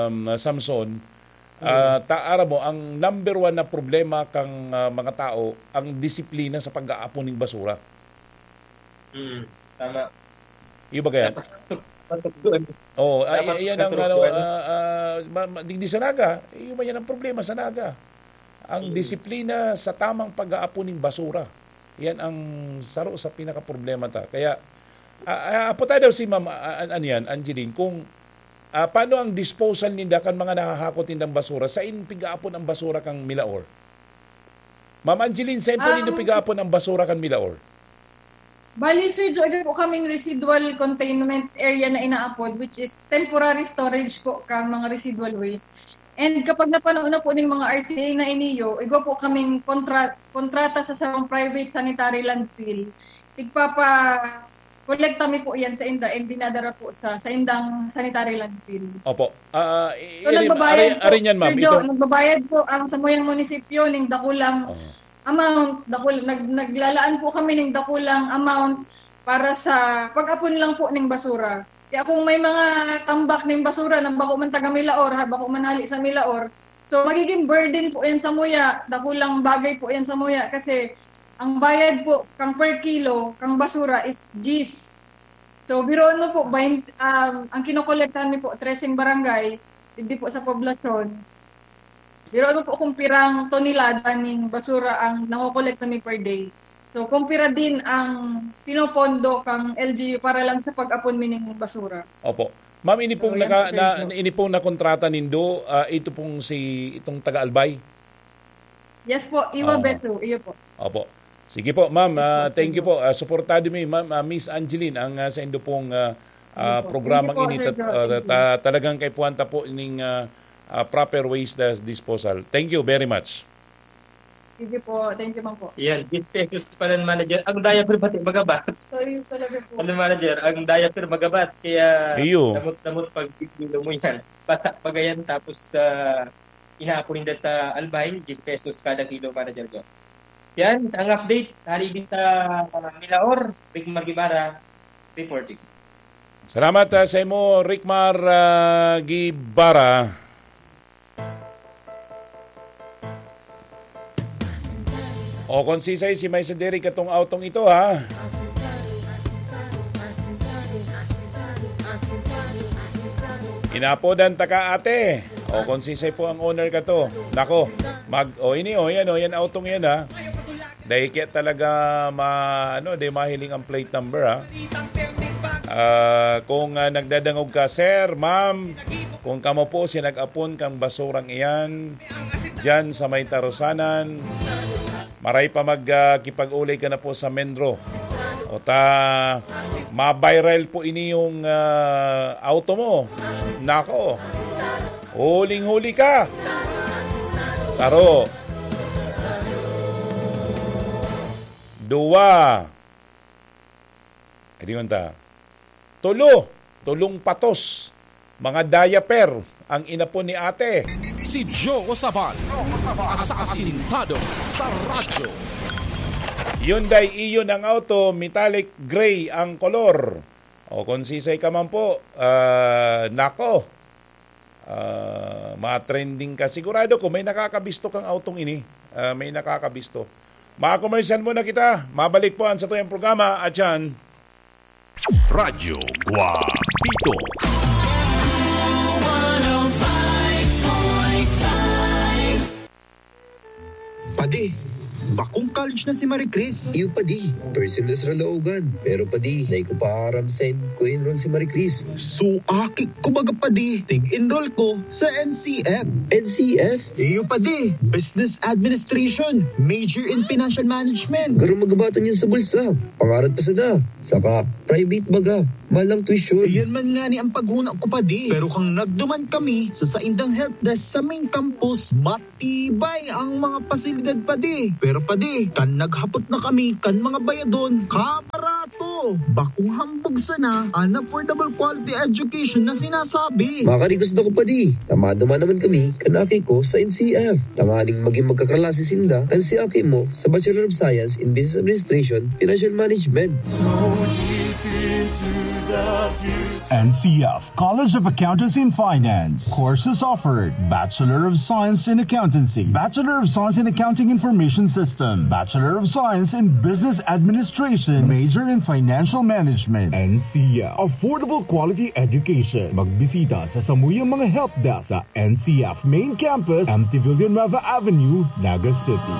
um, Samson. Ah, Mm. ta-, aram mo, ang number one na problema kang, ah, mga tao, ang disiplina sa pag-aapon ning basura. Mm, tama. Iyo ba kaya? Dapat tuk-, patukdoan. Oo, ay, Dapat ayan ang, ano, katukdoan. ah, ah, ma-, ma-, digdi sa Naga, iyo man yan ang problema sa Naga. Ang Mm. disiplina sa tamang pag-aapon ning basura. Yan ang saro sa pinakaproblema ta. Kaya, ah, ah, apo tayo daw si Ma'am, ah, an-, ano yan, Angeline, kung, ah, paano ang disposal ninda kan mga nahahakot nindang basura? Sain pigaapon ang basura kan Milaor? Ma'am Angeline, sain po nindo Ang pigaapon ang basura kan Milaor? Bali, Sir Joe, ito po kaming residual containment area na inaapod, which is temporary storage po kang mga residual waste. And kapag napano na po ning mga R C A na iniyo, igwa po kaming kontra-, kontrata sa sarong private sanitary landfill. Igpapa-, kolekta mi po yan sa inda and dinadara po sa, sa indang sanitary landfill. Opo. Ah, i-, So, i-, nagbabayad ari-, po, ari niyan, Sir ma'am. Joe, Ito nagbabayad po ang samuyang munisipyo ning dakulang Oo. amount, dakul-, nag-, naglalaan po kami ning dakulang amount para sa pag-apon lang po ning basura. Kaya kung may mga tambak ning basura na bako man taga Milaor, ha, bako man hali sa Milaor, so magiging burden po yan samuya, dakulang bagay po yan samuya kasi ang bayad po kang per kilo, kang basura is diyes. So, biruon mo po, bain-, um, ang kinokolektahan mi po, treseng barangay, digdi po sa poblasyon. Biruon mo po kung pirang tonelada ning basura ang nakokolekta mi per day. So, kung pira din ang pinopondo kang L G U para lang sa pag-apon mi ning basura. Opo. Ma'am, ini pong So, yan naka-, po, sir, na, no? ini pong nakontrata nindo, ah, ito pong si, itong taga Albay? Yes po, Iwa Oo. Beto, iyo po. Opo. Sige po, ma'am, Yes po, ah, thank you sir. po. Ah, suportado mi, ma'am, ah, Miss Angeline, ang, ah, sa indo pong, ah, ah, Yes po. programang Thank you po, ini, Sir tat-, Joe. ah, Thank you. ta-, talagang kaipuhan ta po ning, ah, ah, proper waste, ah, disposal. Thank you very much. Sige po, thank you, ma'am po. Yan, diyes pesos pala, manager. Ang diaper pati magabat. Serious talaga po. Ano, manager, ang diaper magabat, kaya Iyo. damot-damot pag mo yan. Basa pa gayan, tapos sa inaapon ninda sa Albay, diyes pesos kada kilo, manager ko. Yan, ang update. Hali din sa, uh, Milaor, Big Magibara, reporting. Salamat, ah, sa imo, Ricmar, ah, Guibarra. O, kung sisay, si May Sendiri katong autong ito, ha? Inapodan ta ka, ate. O, kung sisay po ang owner ka to. Nako, mag, o, ini, o, yan, o, yan, autong yan, ha? Dahil kaya talaga ma-, ano, di mahiling ang plate number, ha? Ah, kung, ah, nagdadangog ka, sir, ma'am, kung kamo po si nag-apon kang basurang iyan, diyan sa may tarusanan, maray pa mag, ah, kipag-ulay ka na po sa Menro. O ta, ma-viral po ini yung, ah, auto mo. Nako, huling-huli ka. Saro. Duwa. Edi man ta. Tulo. Tulong patos. Mga diaper ang inapon ni ate. Si Joe Sabal, asasintado sa radyo. Hyundai Ion ang auto, metallic gray ang kolor. O kung sisay ka man po, ah, nako, ah, ma-trending ka. Sigurado ko may nakakabisto kang autong ini. Ah, may nakakabisto. Mga komersyal muna kita. Mabalik po ang satuyang programa. At yan, Radyo Guapito. Padi, bakong college na si Marie Chris. Iyo, padi. First sem na sa Caloocan. Pero, padi, dai ko pa aram saen ko enroll si Marie Chris. So, aki ko baga, padi. Tig-enroll ko sa N C F. N C F? Iyo, padi. Business Administration. Major in Financial Management. Garo magabatan yun sa bulsa. Pangarap pa sana. Saka, private baga. Malang tuition. Iyan man nga ni ang paghuna ko, padi. Pero kang nagduman kami sa saindang help desk sa main campus, matibay ang mga pasilidad, padi. Pero, padi, kan naghapot na kami kan mga bayadon, kabarato! Bakong hambog sana an affordable quality education na sinasabi. Makari gusto ko, padi. Tamado man naman kami kan aki ko sa N C F. Tanganing maging magkaklase sinda kan si aki mo sa Bachelor of Science in Business Administration, Financial Management. N C F College of Accountancy and Finance. Courses offered: Bachelor of Science in Accountancy, Bachelor of Science in Accounting Information System, Bachelor of Science in Business Administration, major in Financial Management. N C F, affordable quality education. Magbisita sa samuyang mga help desk sa N C F Main Campus, M T Villanueva Avenue, Naga City.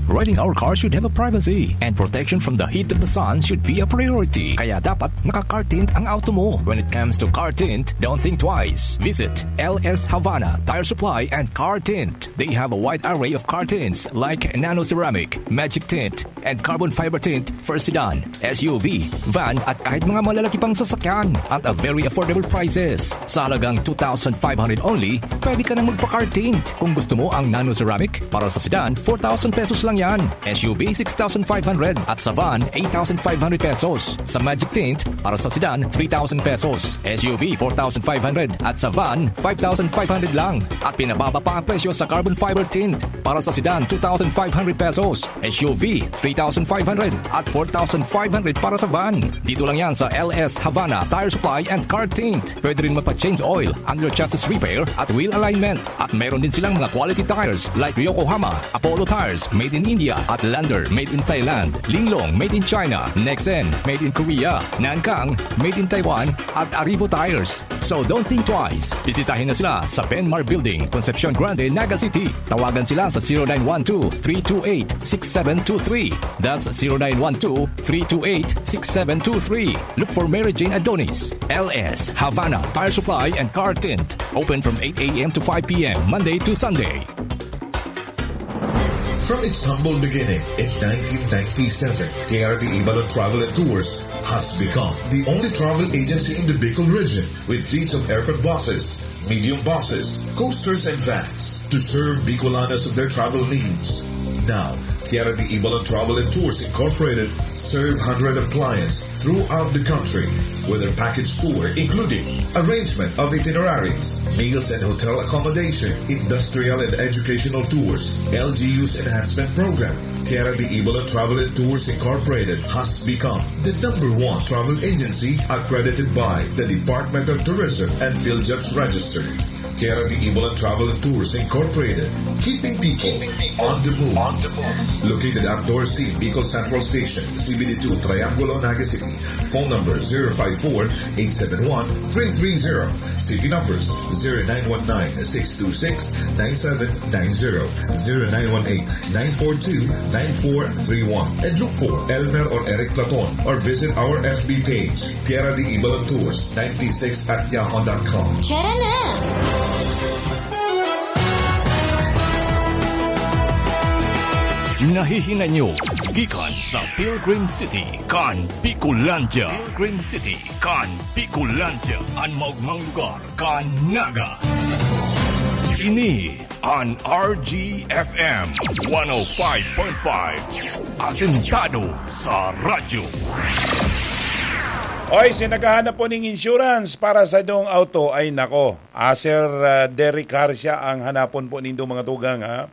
Riding our car should have a privacy, and protection from the heat of the sun should be a priority. Kaya dapat naka-car tint ang auto mo. When it comes to car tint, don't think twice. Visit L S Havana Tire Supply and Car Tint. They have a wide array of car tints like nano ceramic, magic tint, and carbon fiber tint for sedan, S U V, van, at kahit mga malalaki pang sasakyan at a very affordable prices. Sa halagang two thousand five hundred only, pwede ka nang magpa-car tint. Kung gusto mo ang nano ceramic, para sa sedan, four thousand pesos lang yan. S U V, six thousand five hundred, at sa van, eight thousand five hundred pesos. Sa magic tint, para sa sedan, three thousand pesos. S U V, four thousand five hundred, at sa van, five thousand five hundred lang. At pinababa pa ang presyo sa carbon fiber tint. Para sa sedan, two thousand five hundred pesos. S U V, three thousand five hundred at four thousand five hundred para sa van. Dito lang yan sa L S Havana Tire Supply and Car Tint. Pwede rin magpa-change oil, under chassis repair at wheel alignment. At meron din silang mga quality tires like Yokohama, Apollo Tires, made in India, at Lander, made in Thailand, Linglong, made in China, Nexen, made in Korea, Nankang, made in Taiwan, at Arrivo Tires. So don't think twice. Bisitahin na sila sa Benmar Building, Concepcion Grande, Naga City. Tawagan sila sa zero nine one two, three two eight, six seven two three. That's zero nine one two, three two eight, six seven two three. Look for Mary Jane Adonis. L S Havana Tire Supply and Car Tint. Open from eight a.m. to five p.m., Monday to Sunday. From its humble beginning in nineteen ninety-seven, Tierra de Ibalon Travel and Tours has become the only travel agency in the Bicol region with fleets of aircon buses, medium buses, coasters, and vans to serve Bicolanos of their travel needs. Now, Tierra de Ibalon Travel and Tours Incorporated serve hundreds of clients throughout the country with their package tour, including arrangement of itineraries, meals and hotel accommodation, industrial and educational tours, L G U's enhancement program. Tierra de Ibalon Travel and Tours Incorporated has become the number one travel agency accredited by the Department of Tourism and PhilJobs Register. Tierra de Ibalon Travel and Tours Incorporated, keeping people on the move. Located at Dorsey, Bicol Central Station, C B D two, Triangulo, Naga City. Phone number zero five four, eight seven one, three three zero. C P numbers zero nine one nine, six two six, nine seven nine zero, zero nine one eight, nine four two, nine four three one. And look for Elmer or Eric Platon or visit our F B page, Tierra de Ibalon Tours ninety-six at yahoo dot com. Tara na! Nahihinay nyo gikan sa Pilgrim City kan Bicolandia. Pilgrim City kan Bicolandia, an maogmang lugar kan Naga. Ini an R G F M one oh five point five, asentado sa radyo. Oy, si naghahanap po ning insurance para sa inyong auto, ay nako. Ah, Sir, ah, Derek Harcia ang hanapon po nindo, mga tugang, ha?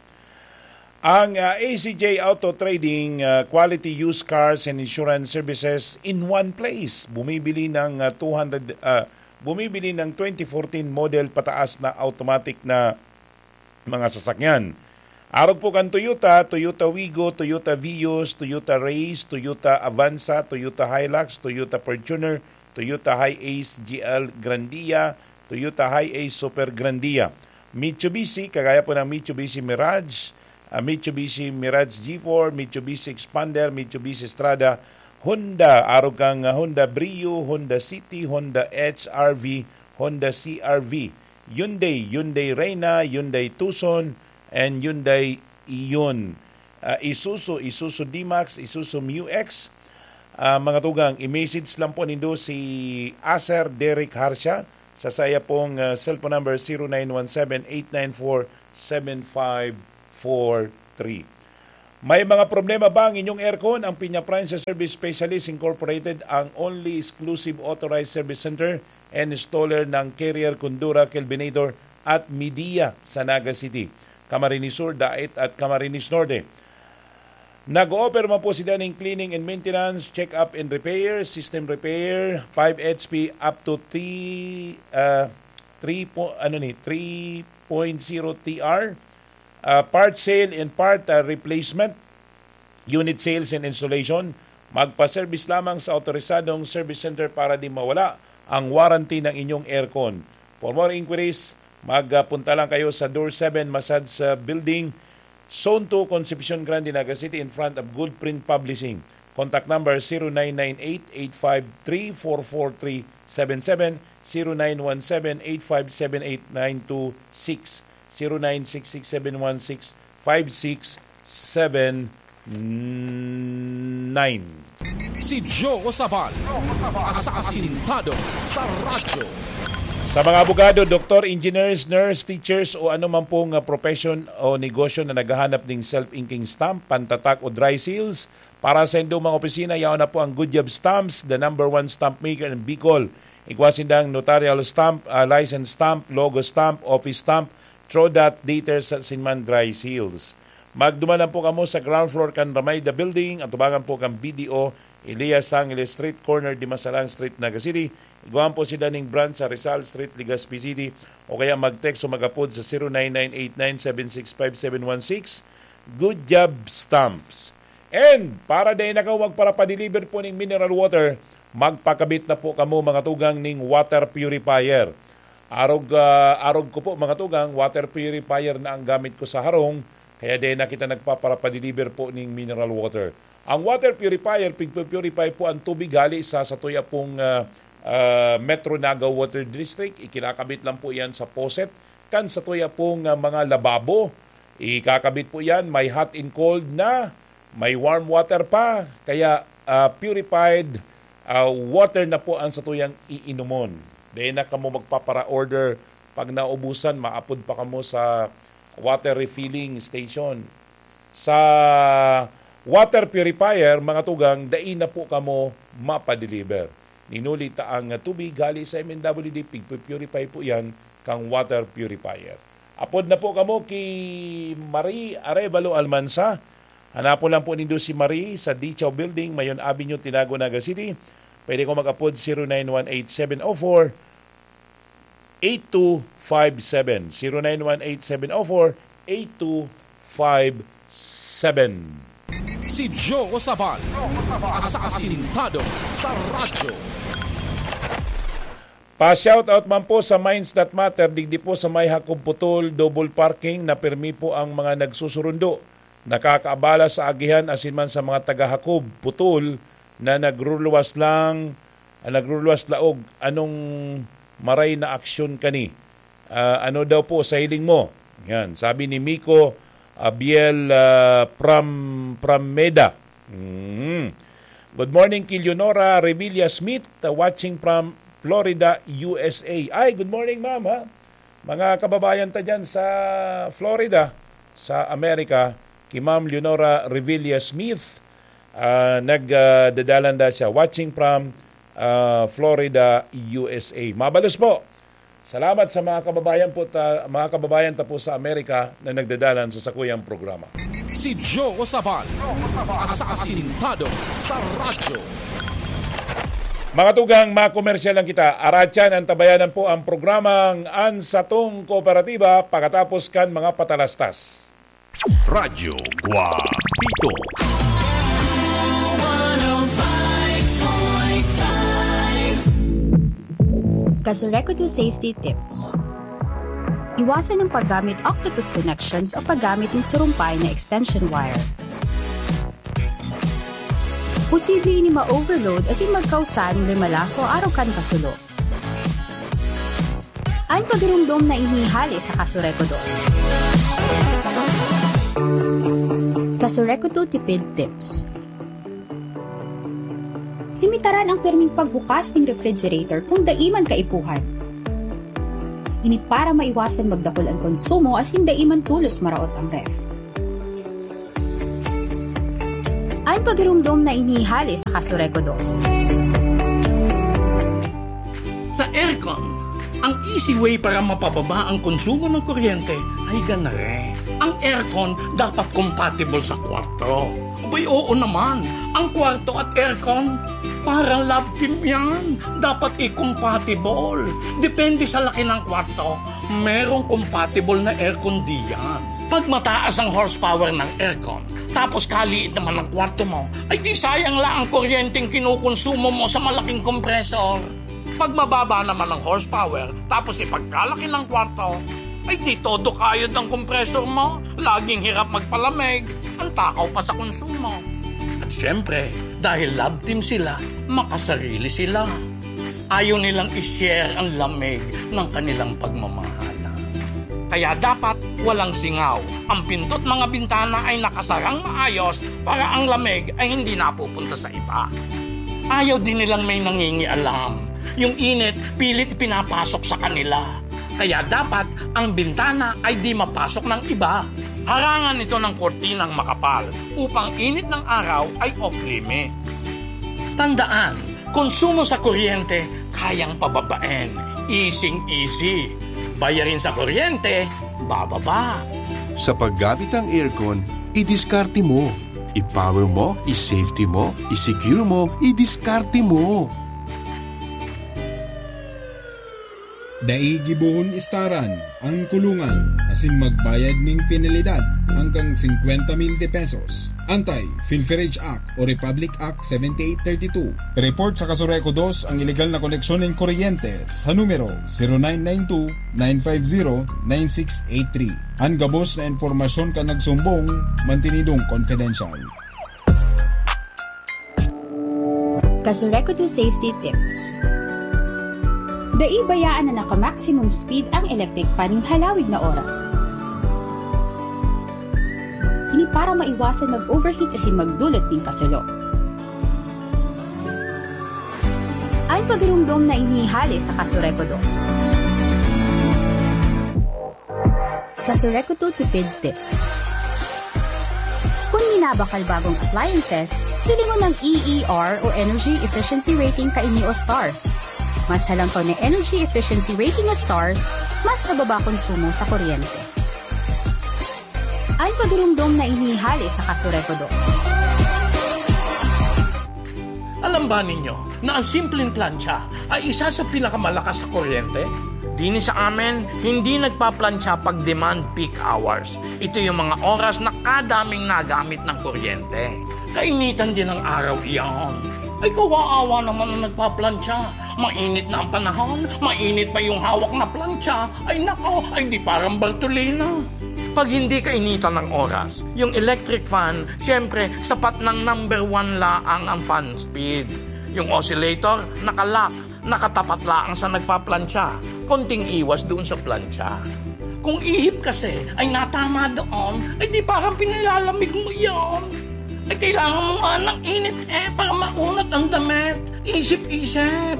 Ang, ah, A C J Auto Trading, ah, quality used cars and insurance services in one place. Bumibili ng, ah, two hundred, ah, bumibili ng twenty fourteen model pataas na automatic na mga sasakyan. Arog po kan Toyota, Toyota Wigo, Toyota Vios, Toyota Race, Toyota Avanza, Toyota Hilux, Toyota Fortuner, Toyota Hiace G L Grandia, Toyota Hiace Super Grandia. Mitsubishi, kagaya po ng Mitsubishi Mirage, ah, Mitsubishi Mirage G four, Mitsubishi Xpander, Mitsubishi Strada, Honda, arog kan, ah, Honda Brio, Honda City, Honda H R V, Honda C R V, Hyundai, Hyundai Reina, Hyundai Tucson, and Hyundai Ion. Ah, Isuzu, Isuzu D-Max, Isuzu Mu X, Ah, mga tugang, i-message lang po nindo si Aser Derek Harsha sa saya pong, ah, cellphone number, zero nine one seven eight nine four seven five four three. May mga problema ba ang inyong aircon? Ang Piña Prime sa Service Specialist Incorporated, ang only exclusive authorized service center and installer ng Carrier, Condura, Kelvinator at Midea sa Naga City, Camarines Sur, Daet at Camarines Norte. Nag-o-offer man po sila ning cleaning and maintenance, check-up and repair, system repair, five H P up to three, ah, three po, ano ni, three point zero T R, ah, part sale and part, ah, replacement, unit sales and installation. Magpa-service lamang sa autorisadong service center para di mawala ang warranty ng inyong aircon. For more inquiries, magpunta lang kayo sa Door seven Massage, ah, Building, Zone two, Concepcion Grande, Naga City, in front of Good Print Publishing. Contact number, zero nine nine eight eight five three four four three seven seven, zero nine one seven eight five seven eight nine two six, zero nine six six seven one six five six seven nine. Si Joe Sabal, asasintado sa radyo. Sa mga abogado, doktor, engineers, nurse, teachers o ano man pong, ah, profession o negosyo na naghahanap ning self-inking stamp, pantatak o dry seals, para sa indong mga opisina, yaon na po ang Good Job Stamps, the number one stamp maker in Bicol. Igwa sindang notarial stamp, ah, license stamp, logo stamp, office stamp, through that data sa sinman dry seals. Magduman lang po kamo sa ground floor kan Ramayda Building, atubangan po kan B D O, Elias Sangile Street, corner Dimasalang Street, Naga City. Igwaan po sila ning branch sa Rizal Street, Legazpi City, o kaya mag-text o mag-apod sa zero nine nine eight nine seven six five seven one six. Good Job Stamps. And para dai na kamo magparapadeliver po ning mineral water, magpakabit na po kamo, mga tugang, ning water purifier. Arog, ah, arog ko po, mga tugang, water purifier na ang gamit ko sa harong, kaya dai na kita nagpaparapadeliver po ning mineral water. Ang water purifier, pigpu-purify po ang tubig hali sa satuya pong, ah, ah, Metro Naga Water District. Ikinakabit lang po yan sa faucet kan satuya pong, ah, mga lababo. Ikakabit po yan, may hot and cold na, may warm water pa, kaya, ah, purified, ah, water na po ang satuyang iinomon. Dai na kamo magpapara-order. Pag naubusan, maapod pa kamo sa water refilling station. Sa water purifier, mga tugang, dai na po kamo mapadeliver. Ninuli ta ang tubig hali sa M N W D, pigpu-purify po yan kang water purifier. Apod na po kamo ki Marie Arevalo Almansa. Hanapon lang po nindo si Marie sa Dichaw Building, Mayon Avenue, Tinago, Naga City. Pwede ko mag-apod, zero nine one eight seven oh four eight two five seven. Zero nine one eight seven oh four eight two five seven. Si Joe Sabal, asasintado sa radyo. Pa-shoutout man po sa Minds That Matter, digdi po sa may Hakob Putol, double parking, na pirmi po ang mga nagsusurundo. Nakakaabala sa agihan asin man sa mga taga-Hakob Putol na nagruluwas lang, ah, nagruluwas laog. Anong maray na aksyon kani? Ah, ano daw po sa hiling mo? Yan, sabi ni Miko Abiel, ah, from, from Meda. Mm. Good morning ki Leonora Revilla Smith, uh, watching from Florida, U S A. Ay, good morning, ma'am, ha? Mga kababayan ta dyan sa Florida, sa Amerika, ki Ma'am Leonora Revilla Smith, ah, nag, ah, dadalan da siya, watching from, ah, Florida, U S A. Mabalos po. Salamat sa mga kababayan po ta-, mga kababayan ta po sa Amerika na nagdadalan sa sakuyang programa. Si Joe Sabal, asasintado sa radyo. Mga tugang, makomersyal lang kita. Aratyan, antabayanan po ang programang An Satong Kooperatiba pagkatapos kan mga patalastas. Radyo Guapito. Kasurekodo Safety Tips. Iwasan ang paggamit octopus connections o paggamit ng surumpay na extension wire. Posible ini ma-overload asin magkausa nin limalaso arog kan kasulo. An pagiromdom na ini hale sa Kasurekodos. Kasurekodo Tipid Tips. Limitaran ang pirming pagbukas ning refrigerator kun dai man kaipuhan. Ini para maiwasan magdakul an konsumo asin dai man tolos maraot ang ref. An pagirumdom na ini hale sa Kasureco dos. Sa aircon, ang easy way para mapababa ang konsumo ng kuryente ay ganare. Ang aircon dapat compatible sa kwarto. Abay, oo naman, ang kwarto at aircon, parang love team yan. Dapat i-compatible. Depende sa laki ng kwarto, merong compatible na aircon diyan. Pag mataas ang horsepower ng aircon, tapos kaliit naman ang kwarto mo, ay di sayang lang ang kuryenteng kinukonsumo mo sa malaking kompresor. Pag mababa naman ang horsepower, tapos ipagkalaki ng kwarto, ay di todo kayod ang kompresor mo, laging hirap magpalamig, ang takaw pa sa konsumo. At syempre, dahil love team sila, makasarili sila. Ayaw nilang i-share ang lamig ng kanilang pagmamahalan. Kaya dapat walang singaw. Ang pinto't mga bintana ay nakasarang maayos para ang lamig ay hindi napupunta sa iba. Ayaw din nilang may nangingialam. Yung init, pilit ipinapasok sa kanila. Kaya dapat ang bintana ay di mapasok ng iba. Harangan ito ng kortinang makapal upang init ng araw ay off-limit. Tandaan, konsumo sa kuryente, kayang pababaen. Easing-easy. Bayarin sa kuryente, bababa. Sa paggamit ng aircon, idiskarte mo. I-power mo, i-safety mo, i-secure mo, idiskarte mo. Dai gibohon istaran ang kulungan asin magbayad nin penalidad hanggang singkwenta mil de pesos. Anti-Pilferage Act o Republic Act seventy-eight thirty-two. Report sa Kasureco dos ang ilegal na koneksyon nin kuryente sa numero zero nine nine two, nine five zero, nine six eight three. An gabos na impormasyon kan nagsumbong, mantinidong confidential. Kasureco two Safety Tips. Dai bayaan na naka-maximum speed ang electric fan nin halawig na oras. Ini para maiwasan mag-overheat asin magdulot nin kasulo. An pagirumdom na ini hale sa Kasureco dos. Kasureco two Tipid Tips. Kun minabakal bagong appliances, hilingon ang E E R o Energy Efficiency Rating kaini o stars. Mas halangkaw na energy efficiency rating o stars, mas mababa konsumo sa kuryente. An pagirumdom na ini hale sa Kasureco dos. Alam ba ninyo na ang simpleng plantsa ay isa sa pinakamalakas sa kuryente? Dini sa amin, hindi nagpaplantsa pag demand peak hours. Ito yung mga oras na kadaming nagamit ng kuryente. Kainitan din ng araw iyan. Ay, kawawa naman ang nagpaplantsa. Mainit na ang panahon, mainit pa yung hawak na plantsa. Ay nako, ay di parang Bartolina. Pag hindi kainitan ng oras, yung electric fan, siyempre, sapat ng number one laang ang fan speed. Yung oscillator, nakalock, nakatapat laang sa nagpaplantsa. Konting iwas doon sa plantsa. Kung ihip kasi ay natama doon, ay di parang pinilalamig mo iyon. Ay kailangan mo nga ng init eh para maunat ang damit. Isip-isip.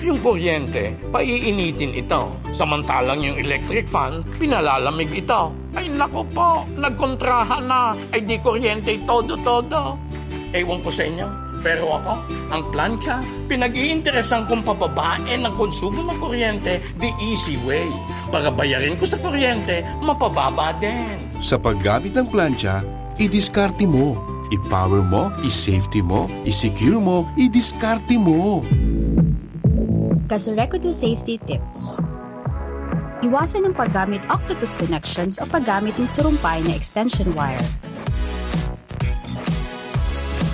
Yung kuryente, paiinitin ito. Samantalang yung electric fan, pinalalamig ito. Ay naku po, nagkontrahan na. Ay di kuryente todo-todo. Ewan ko sa inyo, pero ako, ang plantsa, pinag-iinteresan kong pababain ang konsumo ng kuryente the easy way. Para bayarin ko sa kuryente, mapababa din. Sa paggamit ng plantsa, idiskarte mo. I-power mo, i-safety mo, i-secure mo, idiskarte mo. Kasureco two Safety Tips. Iwasan ang paggamit octopus connections o paggamit ng surumpay na extension wire.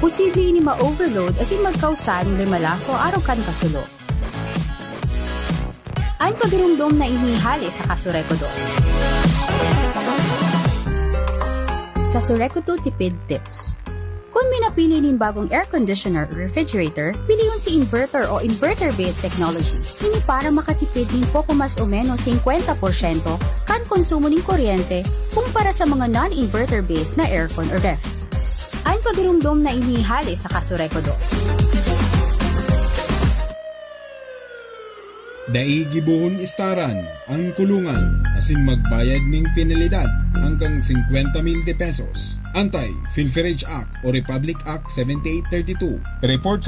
Posible ini ma-overload asin magkausa nin limalaso arog kan kasulo. An pagirumdom na ini hale sa Kasureco dos. Kasureco two Tipid Tips. Kun minapili nin bagong air conditioner o refrigerator, pilion si inverter o inverter-based technology. Ini para makatipid nin poko mas o menos singkwenta porsyento kan konsumo nin kuryente kumpara sa mga non-inverter-based na aircon o ref. An pagirumdom na ini hale sa Kasureco dos. Dai gibohon istaran ang kulungan asin magbayad ning penalidad hanggang singkwenta mil de pesos. Anti-Pilferage Act o Republic Act seventy-eight thirty-two. Report